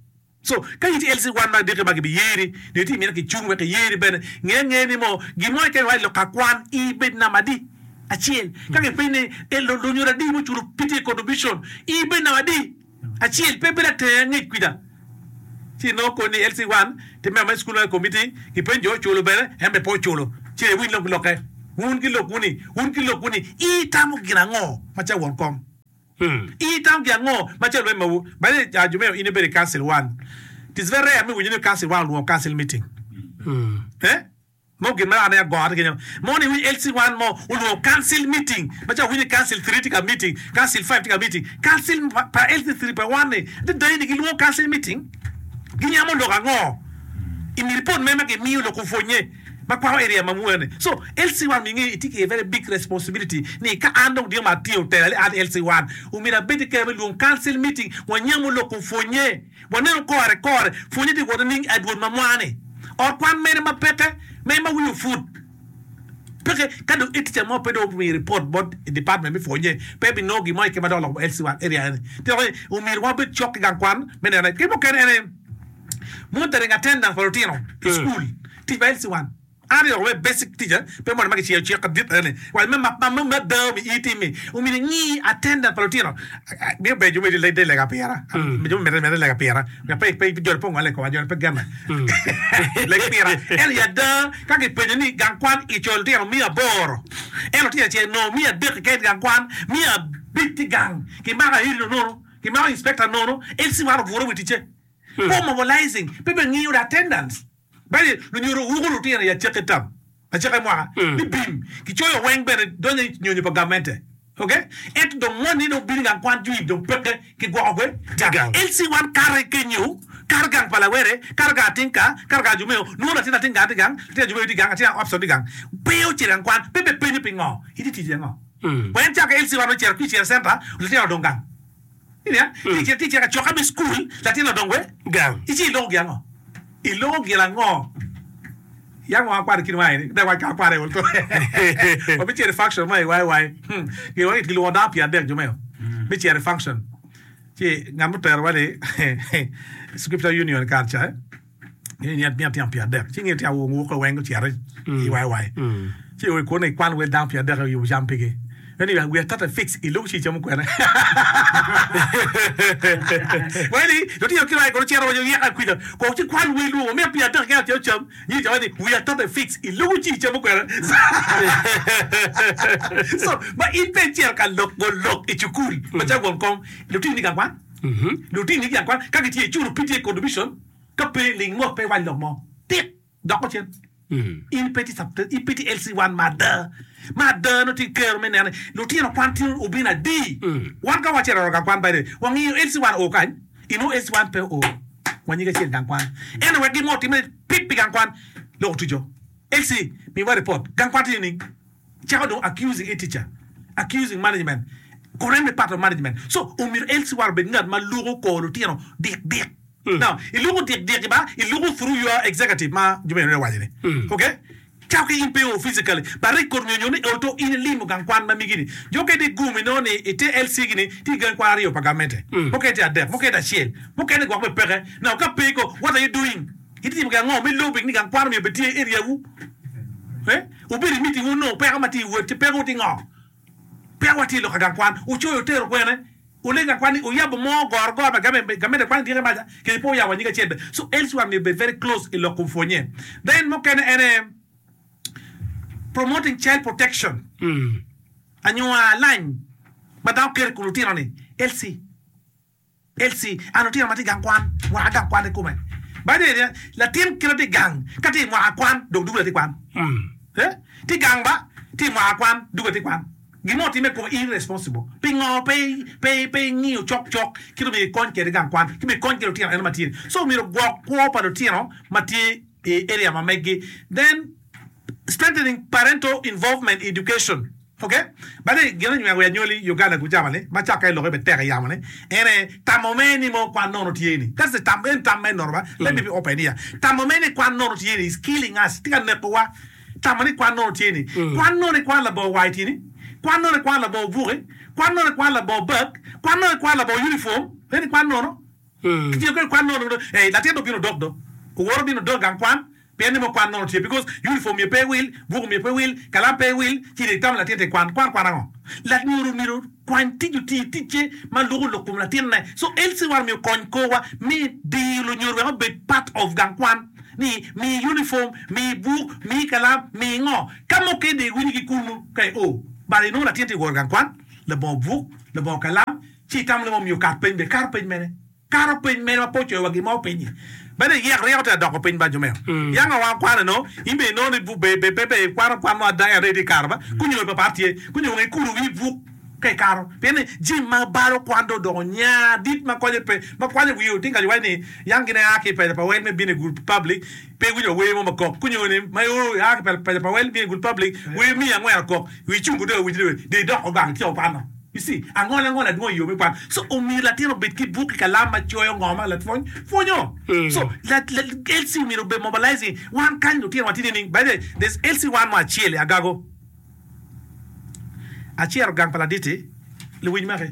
So, ka in itye L C one ma diki ma gibiyeri, nyo itye imito kicung wek kiyeri bene, nge angeya ni mo, gin mo keken iwaco lok ka kwan, ibed namba adi? Acel. Ka kipenyi ni, e, lunyodo adi muculo P T A contribution, ibed namba adi? Acel. Pe ibedo atenge angec kwida. Ci inongo koni ni L C one tye member me school committee, kipenyo jo oculo bene, en bene pe oculo. Ci iwiny lok lokke. Wun ki lokwu ni, wun ki lokwu ni, itamo gin ango macalo won kom? Itamo gin ango macalo lweny mawu? By the way, Jumeo, in ibedo i council one. It is very rare me winyo ni council one olwongo council meeting. Eh? Mo gin ma ane agora kenyo. Mo ni winyo L C one mo olwongo council meeting. Macalo winyo council three tye ka meeting, council five tye ka meeting. Council pa, pa L C three pa one ni, adada ni gilwongo council meeting. Ginyamo lok ango? I report me ma gimiyo lok opwonye ma kwako area ma mwene. So L C one minge itye ki a very big responsibility ni ka an dong dino ma atiyo tela ni an L C one omyero abed ki kero me lwongo council meeting, wanyamo lok opwonye, waneno kore kore pwonye tye wot nining adwol ma mwa-ni ot kwan mene ma peke me ma wiye oput peke. Ka dong tica mo pe dong omiyo report bot department me pwonye, pe binongo gin mo keken ma dok loko L C one area eni. Tye ni omyero wabed cok ki gang kwan me neno ki mukene ene monitoring attendance pa lutino i school. Tic pa L C one an yoko me basic teacher pe mono ma kiciyo cik kadit ene wa me ma ma ma da mi itimi omyero ingi attendance pa lutino. Miyo ber jo me de lega pira, jo me mere lega pira pe pe jo pe ngole ko jo pe gena leg pira en ya da. Ka kipenyo ni gang kwan icoyo lutino miya aboro, en lutino acel no miya adek keken gang kwan, miya abic ti gang, kimako ahiri nono, kimako inspector nono, L C one oburo wi ticce po mobilizing pe be ngiyo the attendance. Bali lunyodo wuko lutino i aceke tam aceke mwaka ni bim kicoyo weng bene donyo i nyonyo pa gamente. Okay, ento dong moni dong bino gang kwan jwi dong peke kigwoko kwe gang. L C one kare kenyo kar gang pa lawere, kar gang atinka, kar gang jumeo nongo latin atin gang ti gang, latin ajumeo ti gang, atin opson ti gang, pe ocito gang kwan, pe be penyo pingo iti tic ango. Wen cako L C one ocito ki cito center, latin odong gang. Inia ti cito ti cito ka cokke me school, latin odong we gang. Ici iloko gin ango? Iloko gin ango? Yang wa kwano kin wai ni da wa ka kwano to wa bi cito i function ma i wai wai gilwongo gilwongo dano pyer adek jumeo mi cito i function. Ci ngat mutero wa ni scripture union kar ca ni ni atino pyer adek, ci ngi tino wuko weng ocito i wai wai, ci oi kuno ikwan wel dano pyer adek oyubo cam pigi. Anyway, we are totally fixed. Ilubo ci camo kwene. Wani, lutino kira kono cero wajo yeka kwija. Ko ci kwan wel luwo me pyer adek keken camo cam. Nyi camo ni we are totally fixed. Ilubo ci camo kwene. So, ma in pe cero ka lok go lok i cukul. Ma ca won kom lutino ni gang kwan. Lutino ni gang kwan ka gitye iculo P T A contribution ka pe ling mot pe wany lok mo. Tik doko cen. In pe tye in pe tye L C one ma ada ma ada no tye kero me neno lutino kwan tye obino adi. Wan ka wacito i gang kwan, by the way, wangiyo L C one o kany ino L C one pe o wanyige acel gang kwan ento wek gin mo otime pip pi gang kwan lok otuco L C miwa report gang kwan tye nining cako dong accusing a teacher, accusing management, correct me part of management. So omyero L C one obed ngat ma luko kor lutino dik dik. Now iluko dik dik ba iluko through your executive ma jumeno ne wacho ni okay cako ki in pe o physically but record nyo nyo ni oto in ilimo gang kwan ma migi ni jo kede gumi no ni ite L C gini ti gang kwan aryo pa gamente, mukene ti adek, mukene acel, mukene gwok be peke. Now ka pe ko, what are you doing? Itimo gi ango me lobbying ni gang kwan omiyo bed tye area wu eh obedo i meeting wu no peko ma tye i wot peko ti ngo peko wa tye lok ka gang kwan ocoyo otero kwene ole gang kwan ni oyabo mo goro goro ma game game kwan dire maja ke po oyabo nyinga acel be. So L C one myero bed very close i lok kom pwonye. Then mukene ene promoting child protection, anywa lany ma dano keto i kom lutino ni L C L C an lutino ma tye i gang kwan mwaka gang kwan kikome. By the way, latin kite tye i gang ka tye i mwaka kwan dong dugo latin kwan. Eh? Tye gang ba tye i mwaka kwan dugo latin kwan gin mo otime i kome irresponsible pingo pe pe pe ing'iyo cok cok kit myero ikony kwede gang kwan ki myero ikony kwede lutino eno ma tye. So myero gwok kwo pa lutino ma tye i area ma meggi. Then strengthening parental involvement in education. Okay, but then gin anyweko ya nyoli Uganda kucama ni ma caka iloke be tek iyamo ni ene tamo me ni mo kwan nono tye ni that's the tam en tam me nono ba. Let me be open here, tamo me ni kwan nono tye ni is killing us. Tika neko wa tamo ni kwan nono tye ni kwan nono ni kwan labo wai tye ni kwan nono ni kwan labo buki kwan nono ni kwan labo bag kwan nono ni kwan labo uniform en kwan nono kitiyo kwede kwan nono. Eh, latin do bino dok do oworo bino dok gang kwan pien ni mo kwan nono tye because uniform myero pe wil, buku myero pe wil, kalam pe wil. Ci di tam latin tye kwan kwan kwan ango Lanyodo myero okwany tic oti ticce ma luko lok kom latinne. So L C one myero okony korwa me diyo lunyodo wek obed part of gang kwan ni mi uniform, mi buk, mi kalam, mi ngo. Ka mukene dong iwinyo ki kunu ka i o but inongo latin tye ka wot i gang kwan labongo buk, labongo kalam ci itamo ni mo myero okat piny bene kato piny mene? Kato piny mene ma pe ocoyo wa gin mo piny-nyi? Bene iyek ryeko tye ka doko piny ba jo meo. Yang awa kwano eno, in bene inongo ni buk be be pe be ikwano kwan mo ada ento itye karo ba kunyo pa pat tye kunyo weng ikulo wi buk ka ikato pien ni jami ma balo kwan dong odoko nya dit ma konye pe ma kwanyo wi oting kaco waco ni yang gin ea ki i pesa pa wel me bino i gul public pe iwinyo wa wer mo ma kok kunyo ni ma io ea ki pesa pa wel bino i gul public wer miya angwen okok wi icung dong iwinyo ni dong idoko gang ityeko kwano. You see, angola angola dwong i yo me kwan. So omyero latin obed ki buk ki kalam ma coyo ngo ma lapwony pwonyo. So la, la, L C omyero obed mobilizing. Wan kany lutino watye nining? By the way, there's L C one mo acel i Agago. Acero gang pa laditi luwiny maki.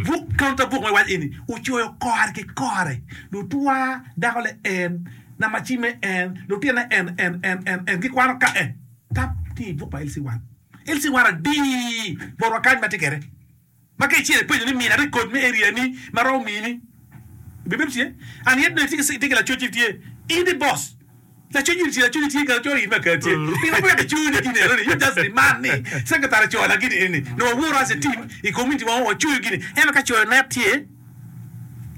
Buk counter book ma iwaco eni ocoyo kore ki kore. Lutwa dako le en, namba cimme en, lutine en en en en en gikwano ka en. Tap tye i buk pa L C one. L C one adi botwa kany ma tye kwede ma ka icito ipenyo ni mina record me area ni ma romo mini bibedo tye and yet nongo itye ki lacoc tye in the boss lacoc in tye lacoc tye ka coyo in ma ka tye pingo pe wek icoyo ni gini eno ni you just demand ni secretary coyo la gini eni nongo waworo as a team i community wa wacoyo gini ento ka coyo net tye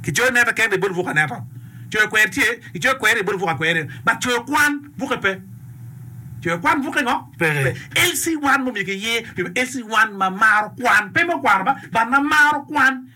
kicoyo net keken ibolo buk aneta coyo kwer tye kicoyo kwer ibolo buk akweri but coyo kwan buke pe coyo kwan buke ngo Peke. L C one mo myero kiyer L C one ma maro kwan pe mo kwano ba but ma maro kwan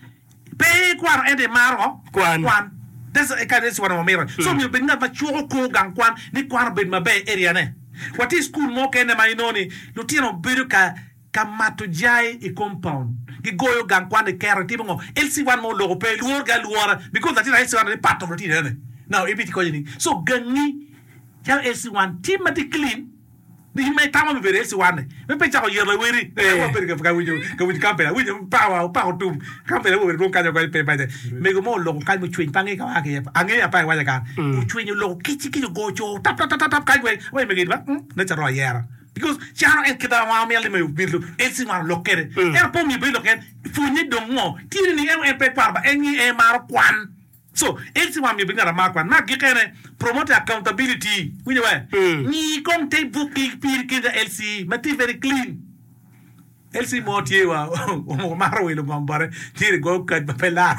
pe kwano ento imaro ngo Kwan. Kwan that's a kind of L C one ma mito so myero bed ngat ma cuko kor gang kwan ni kwan obed maber i area ne watye i school mo kene ma inongo ni lutino bedo ka ka mato jai i compound gigoyo gang kwan giketo gitimo ngo L C one mo oloko pe lworo gi alwora because latin L C one ni part of lutino ene now ibiti konyo ni so gangi calo L C one tye ma tye clean ni in ma itamo me bedo L C one ni me pe cako yero laweri wabedo ka winjo ka winjo campaign awinjo power opako tum campaign awo bedo dwong kanyo ko pe pe mego mo oloko kany mucwiny pa ange ka wa ki iye ange apa iwaco ka ocwiny oloko kic kic ogo co tap tap tap tap kany weng wa mego ba ne ca ro ayera because cano en kita wa miel ni me miel L C one olok kede en po mi be lok en pwonye dong ngo tye ni en en pe kwano ba en ngi en maro kwan so L C one mi be ngata mar kwan ma gikene promote accountability winjo we ngi kong te book ki pir kinda L C ma tye very clean. L C mo tye wa omaro wilo ngom bote tye go kad ma pe lar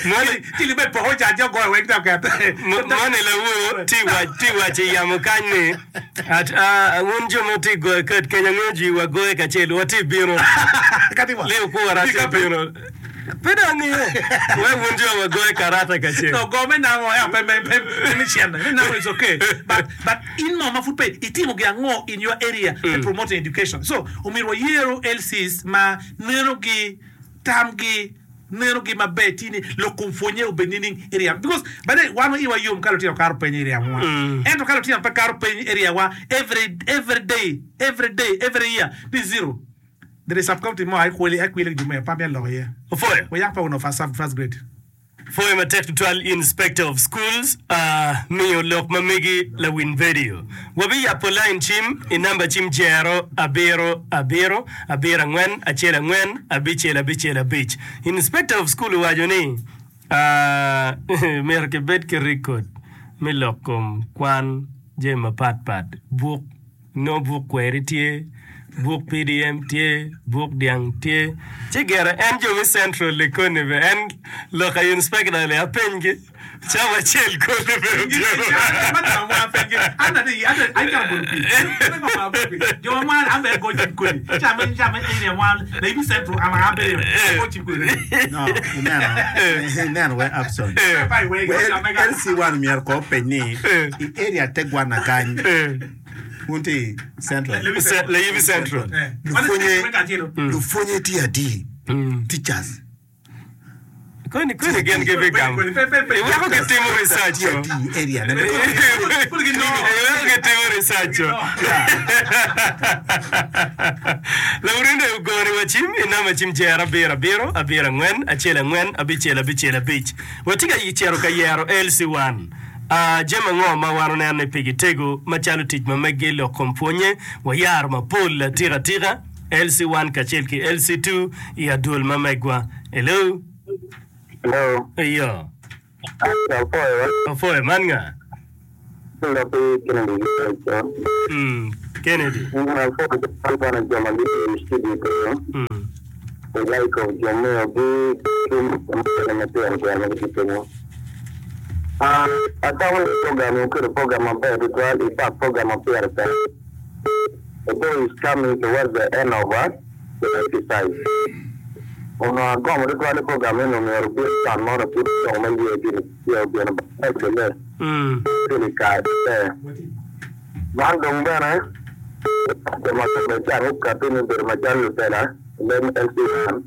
Moni ci libe poko ca jo goyo weng ta ket moni lawo ti wac ti wac i yamo kany ni at uh, wun jo ma tye goyo kad kenya angeyo ji wa goye kacel watye bino kati wa leo kuwara tye bino pe dong angeyo we wun jo wa goye karata kacel. No, go me nango eh pe me pe pe me cien me nango is okay, but but in mo ma pud pe itimo gi ango in your area mm. promoting education. So omyero wayero L Cs ma neno gi tamgi neno gi maber tye ni lok kom pwonye obed nining area because by the way wan iwa yom ka lutino kato piny i area wa ento ka lutino pe kato piny i area wa every every day every day every year ni zero. There is sub county mo akweli akweli jume pa mi loko ye Ofoyo. Wayak pa uno first first grade. Foyo matek tutwal inspector of schools uh, miyo lok ma megi lawin video wabiyapo line cim i namba cim jero abiro abiro abiro angwen acel angwen abicel abicel abic. Inspector of school owaco ni uh, myero kibed ki record me lok kom kwan jami mapatpat buk no buk kweri tye buk P D M tye buk dyang tye ci gere en jo me central li koni be en lok a inspector li apenygi cawa acel koni be otyeno. Jo ma an be go cim kodi ca me ca me area wan la ibi central ama an be go cim kodi. No, ineno, ineno we Abson. We L C one myero ko openy ni i area te gwana kany wun tye central. Layibi central. Lupwonye lupwonye tye adi teachers koni koni gin gibigamo iweko gitimo research tye o. Adi i area ne iweko gitimo research o. Lawurinde ogoni wa cim i namba cim jero abiro abiro abiro angwen acel angwen abicel abicel abic watye ka cito ka yero L C one. Uh, jami ango ma wan oneno ni pigi tego macalo tic ma megi lok kom pwonye wayaro mapol atika atika L C one kacel ki L C two i adwol ma megwa. Hello. Hello. Iyo. Apoyo. Apoyo man nga? Lopi Kennedy. Mm, Kennedy. Apoyo bana joma gi studio ko. Mm. The like of Jomeo gi ki matino tino ma gitimo. Ah, atamo ni program oketo program maber tutwal, in fact program ma pire tek. The day is coming towards the end of uh, the exercise. Ono agombo tutwal ni program eno myero obed can mono pud dong ma yie gini tye obino maber Mm. kele kare maber. Man dong bene jo ma kome can okati ni obedo macalo lutela lem L C one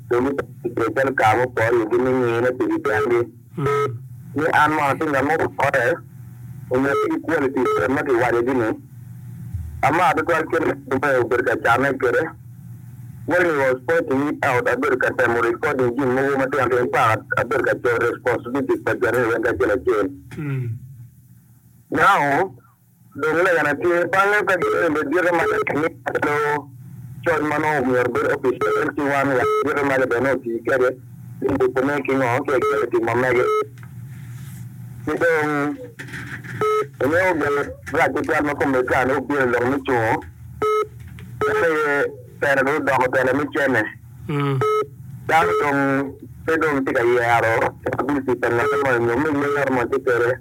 dong gitye calo kare mupore igi me ngine pigi kengi Mm. ni an mono atye ngat mo opore onyo tye ki quality ma kiwaco gini ama tutwal kit ma obedo ka cane kwede when he was pointing it out abedo ka temo recording gin mogo matino tino. In fact, abedo ka coyo responsibilities pa joni weng kacel acel. Mm. Now dong legana tye bange ka giembe dire ma calo coc ma nongo myero obed office L C one wek dire maca bene oti kede yubone ki ngo ki executive ma mege ki dong ingeyo gin rac tutwal ma kome can obino lok me cungo en aye telo dong odoko telo me cene. Mm. Dano dong pe dong tye ka yero capability pa ngat mo nyo me yer mo tye kwede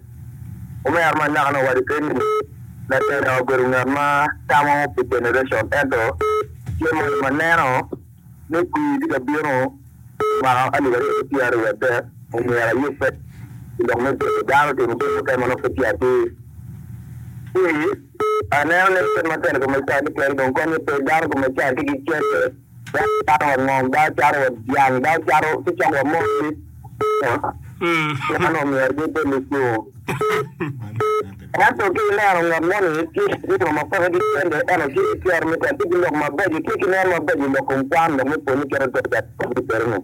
omera ma naka nowaco kede ni latelo obedo ngat ma tamo pi generation ento tye mo ma neno ni kwir tye ka bino mwaka alip aryo ki pyeraryo wiye adek omyero ayubbe i lok me bedo dano timo jami mukene ma nongo pe tye atir ci aneno ni kit ma telo kome can tye kwede dong konye pe dano kome can tye ki cente dano cato wa ngom dano cato wa dyang dano cato ci coko wa moki. Mm. Dano omyero gibed lucungo ento ki ineno ngat moni tye ki ma peke ki cente ento tye ki tyer me tel tye ki lok mabeco tye ki neno mabeco i lok kom kwan lok me pwonye kite doca kwede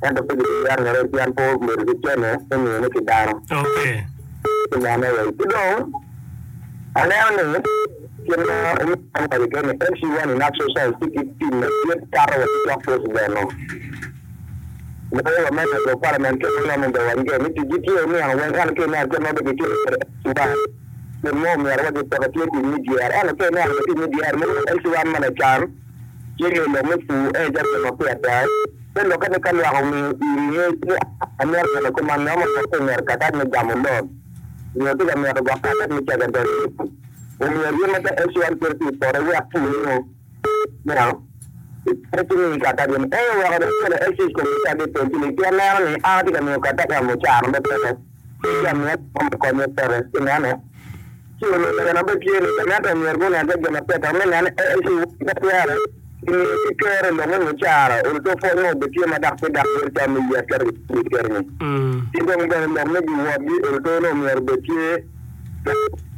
ento pe gibiyero ngete pien pe obedo ki cente me miyone ki dano. Okay. Kinene wai ki dong aneno ni kit ma owaco kwede ni L C one in actual sense tye ki team madit kato wa ki cok president no loyo wa members of parliament kit ma ngom obedo waco kwede ni ticgi tye nino weng ento ki ineno kit ma be gitye kwede L C one gin mo myero wa gipeke tye tic me D R ento ki ineno tic me D R mo L C one ma lacan tye ngeyo lok me pur en calo gin ma pire tek te lokke ni ka lwak omiyo iri ngec ni amyero neno kuman nyo mo pe myero katac me gamo loan nyo tye ka mito gwok katac me secondary omyero in macalo L C one kit tye i poto wek pur nyo you pe mi katac ni en oweko dong kelo L C komita di penjili pien neno ni an atye ka miyo katac ka mucara me peke ci amiyo konye peke ineno ci onongo be tye ni ento myero gunen ka gin ma peke me neno L C pe twere gimiyo ki kere lok me mucara oluto pwony mo be tye ma dok pe dok bedo calo me yet kede kede ni Mm. ki dong bene lok me giwotgi oluto no myero bed tye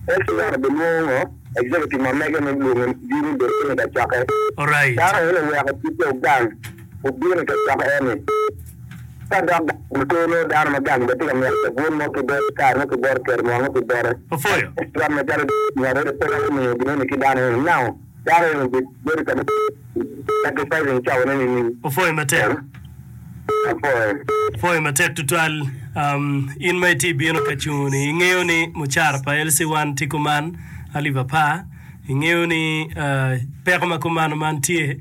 L C one be lwongo executive ma mege me lwongo bino bedo kene ka cokke. Alright. Dano eno oweko ticce ogang obino ka cokke eni ka dok oluto no dano ma gang be tye ka mito cabun mo ki bote kare mo ki bote kero mo ki bote. Opwoyo. L C one macalo ngat eno pe romo miyo gineni ki dano eno now dano eno bedo ka sacrificing cawane nining? Opwoyo matek. Apwoyo. Opwoyo matek tutwal. um, in ma itye bino ka cungo ni ingeyo ni mucara pa L C one tye kuman alip apar ingeyo ni uh, peko ma kumano man tye.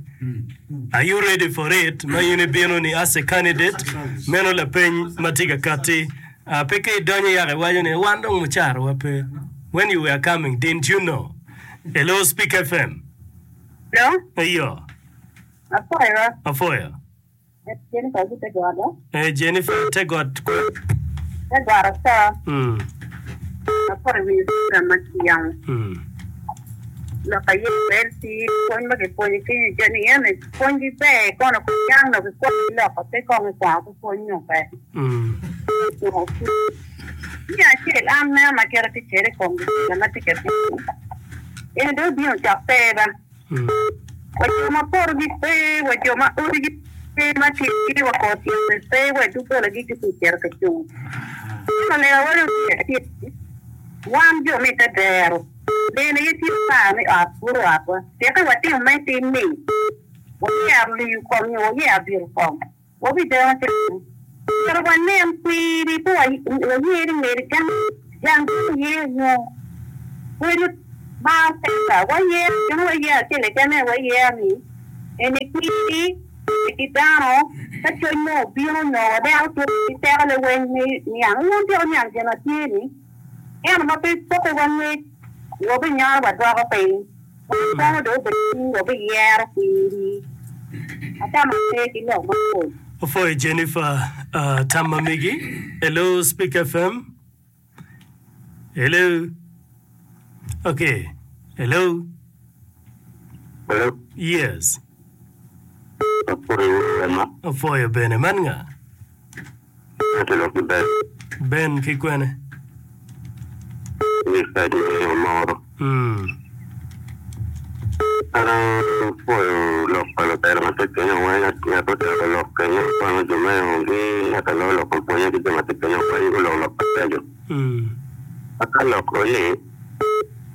Are you ready for it ma in ibino ni as a candidate meno lapeny ma tye ka kati uh, pe ka idonyo yaka iwaco ni wan dong mucara wa pe. When you were coming, didn't you know? Hello, Speak F M. Hello, Eyo. Apwoyo. Apwoyo. Jennifer Gitegodo. Eh, Jennifer Tegot. Tegodo so. mm. Apwoyo winyo program ma kiyamo. Mm. Lok aye L C pwony ma kipwonyo kenyo joni ene pwonygi ber kono kuyang no kikwanyo loko pe kong ikwano ki pwony nyo pe. Mm. Mi acel an neno ma kite tye kwede i kom gitela ma tye ka bino. Eni dong obino cok pe ba. Mm. Wa jo ma porogi pe, wa jo ma odigi pe ma tye wa kor tyene pe, wa dogolagi gitye cito ka cung. Ento lega wadi tye wan jo me te dero bene ye tye par me ot puro otwa teke watimo me tim ni wayero liyo kom nyo wayero biro kom wabideno te myero wanen kwiri pe wayeri ngeri jang jang ye nyo wedo mar pesa wayer kendo wayer achiel keken wayer ni eni kwiri ki dano ka cwiny mo obino nyo wadeno tuko ki teko leweny ni niang wun tyeko niang gin ma tye ni ento ma pe poko wa ngec wabinyalo wadwoko piny wan kono dong obedo ni wabiyero kwiri atamo pe ki lok mapol. Opwoyo Jennifer uh, tam ma megi. Hello, Speak F M. Hello. Okay. Hello. Hello. Yes. Apwoyo wema. Opwoyo bene man nga? Ati lok ki Ben. Ben ki kwene? Ni side me Omoro. Mm. An apwoyo lok pa lutela ma tye kenyo weng ngat otelo lok kenyo kwano jo me gi ngat alo lok pwonyo ki jo ma tye kenyo weng gulok lok mabeco. Mm. Aka lok ni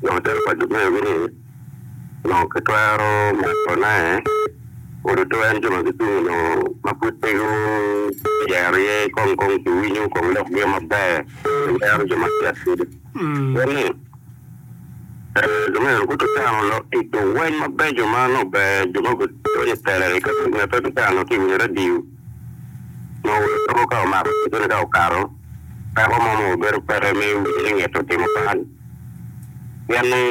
lok telo pa jo me gi ni nongo kitwero makone oduto en jo ma gicung nongo ma pud pe guyero iye kong kong kiwinyo kong lok gi maber yero jo ma tye atidi. Mm. Pien ni jo me gututano lok tito weng mabeco ma nongo ber jo ma gudonyo i tela ka ngat tutano ki winyo radio nongo ka omako ticone ka okato peko mo mo obedo peke me winyo ni nget otimo bal pien ni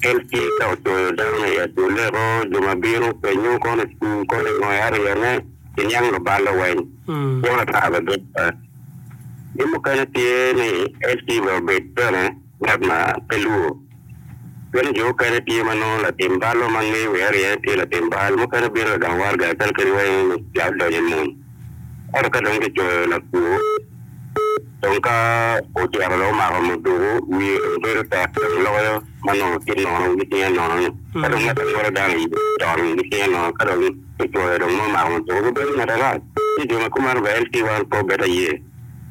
L C ka ocoyo dano i adoleko jo ma bino penyo kono i cukul kono i ngo i aryene kiniang lubalo weng Mm. pien ata bene bedo pe. Gin mukene tye ni L C bene obed bene ngat ma pe luo pien jo mukene tye ma nongo latim balo ma ngeyo wi aryene tye latim bal mukene bino lagam warga calo kadi weng ni odonyo i mony ento ka dong kicoyo lakwo dong ka ocito dong omako muduku wiye dong bedo tek dong loyo ma nongo tye nono gi cinge nono ni ka dong ngat angolo dano i ton gi cinge nono ka dong kicoyo dong ma omako muduku gubedo ngat arac ci jo ma kumeno bene L C wan pe obedo aye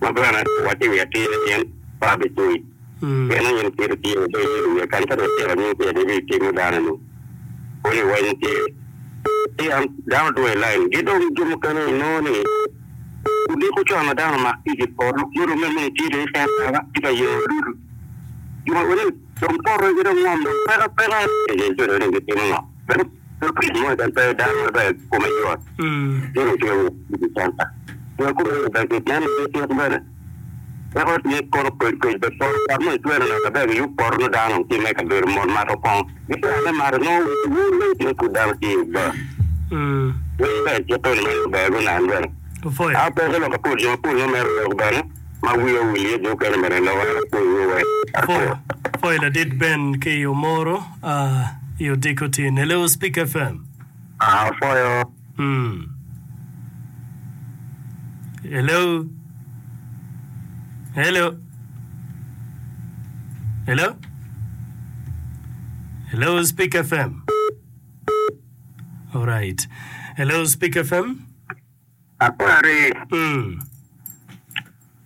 ma bene waco i wi atir ni in pe abicoyi Mm. pien in kit tye obedo i wiye kany ka dong ocito anyim kwede ibitimo dano ni koni weng tye ci an dano dwo i line gi dong jo mukene inongo ni odiko con ma dano omak tic i poto yoto me me tye dong i center tye ka yero dudu jo ma weni dong poto gi dong ngom dong peko peka jo ni gitimo ngo tic mo keken pe dano maber kome yot Mm. yoto tye i center jo kome ber neno cik bene peko tye kono kec kec be poto ot mo itwero neno maber giyub poto no dano tye me kabedo mot mato kongo gitwero me mato nongo wule pud dano tye i bar Mm. weng ber cito ni ber gunan bene Opwoyo. a peko lok apol jo mapol no mere lok bene ma wiya owil iye jo okene bene loko apol wiya Opwoyo. Opwoyo ladit Ben ki Omoro uh, i odiko tin. Hello, Speak F M. Apwoyo. Mm. Hello. Hello. Hello. Hello, Speak F M. All right. Hello, Speak F M. Akwari. Mm.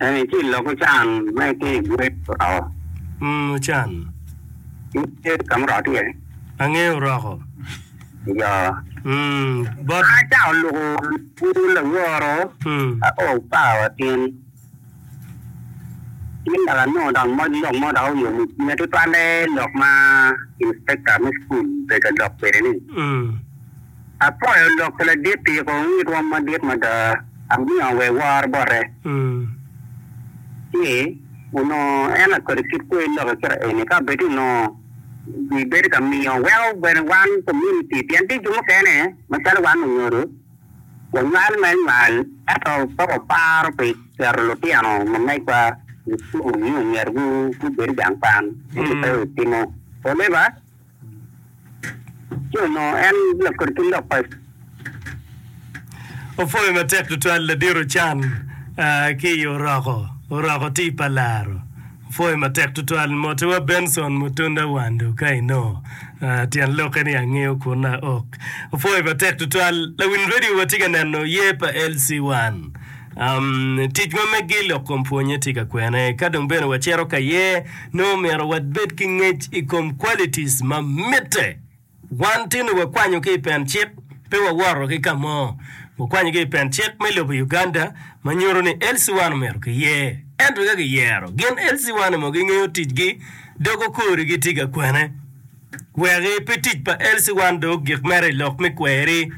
Eni ci loko can me ki gwe ro. Mm, chan. Tye kamoro tye. Angeyo roko. Yo. Mm, bot. Aca oluko puru laworo. Mm. Ao pawa tin. Tin dok anongo dok moc lok mo dok oyomo cwinya tutwalle lok ma inspector me school bedo lok kwede ni. Mm. Apwoyo lok pa ladit tiko ngitwa madit mada amiyo we woro bote. Mm. Ci onongo en akodi kit kwe lok kira eni ka bed onongo gibedo ka miyo weko bene wan community pien tye jo mukene macalo wan onyodo wanywal me nywal ento pe waparo pi keto lutino ma megwa i cukul ni omyero gu- gubed i gang kwan ento pe otimo oleba ci onongo en lakodi ki lok pa Opwoyo matek tutwal ladiro can uh, ki i oroko. Oroko ti pa laro. Opwoyo matek tutwal motiwa Benson Mutunda Wando ka ino. Uh, tyen loke ni angeyo kun na ok. Opwoyo matek tutwal lawin radio watye ka neno ye pa L C one. Um, tic ma meggi lok kom pwonye tye ka kwene. Ka dong bene wacito ka ye, nongo myero wabed ki ngec i kom qualities ma mitte. Wan tino wakwanyo ki i pen cik, pe wawoto ki ka mo. Wakwanyo ki i pen cik me lobo Uganda ma nyuto ni L C one myero kiyer. Ento ka kiyero, gin L C one mo gingeyo ticgi, dogo korigi tye ka kwene. Weki pe tic pa L C one dong ogik mere i lok me kweri.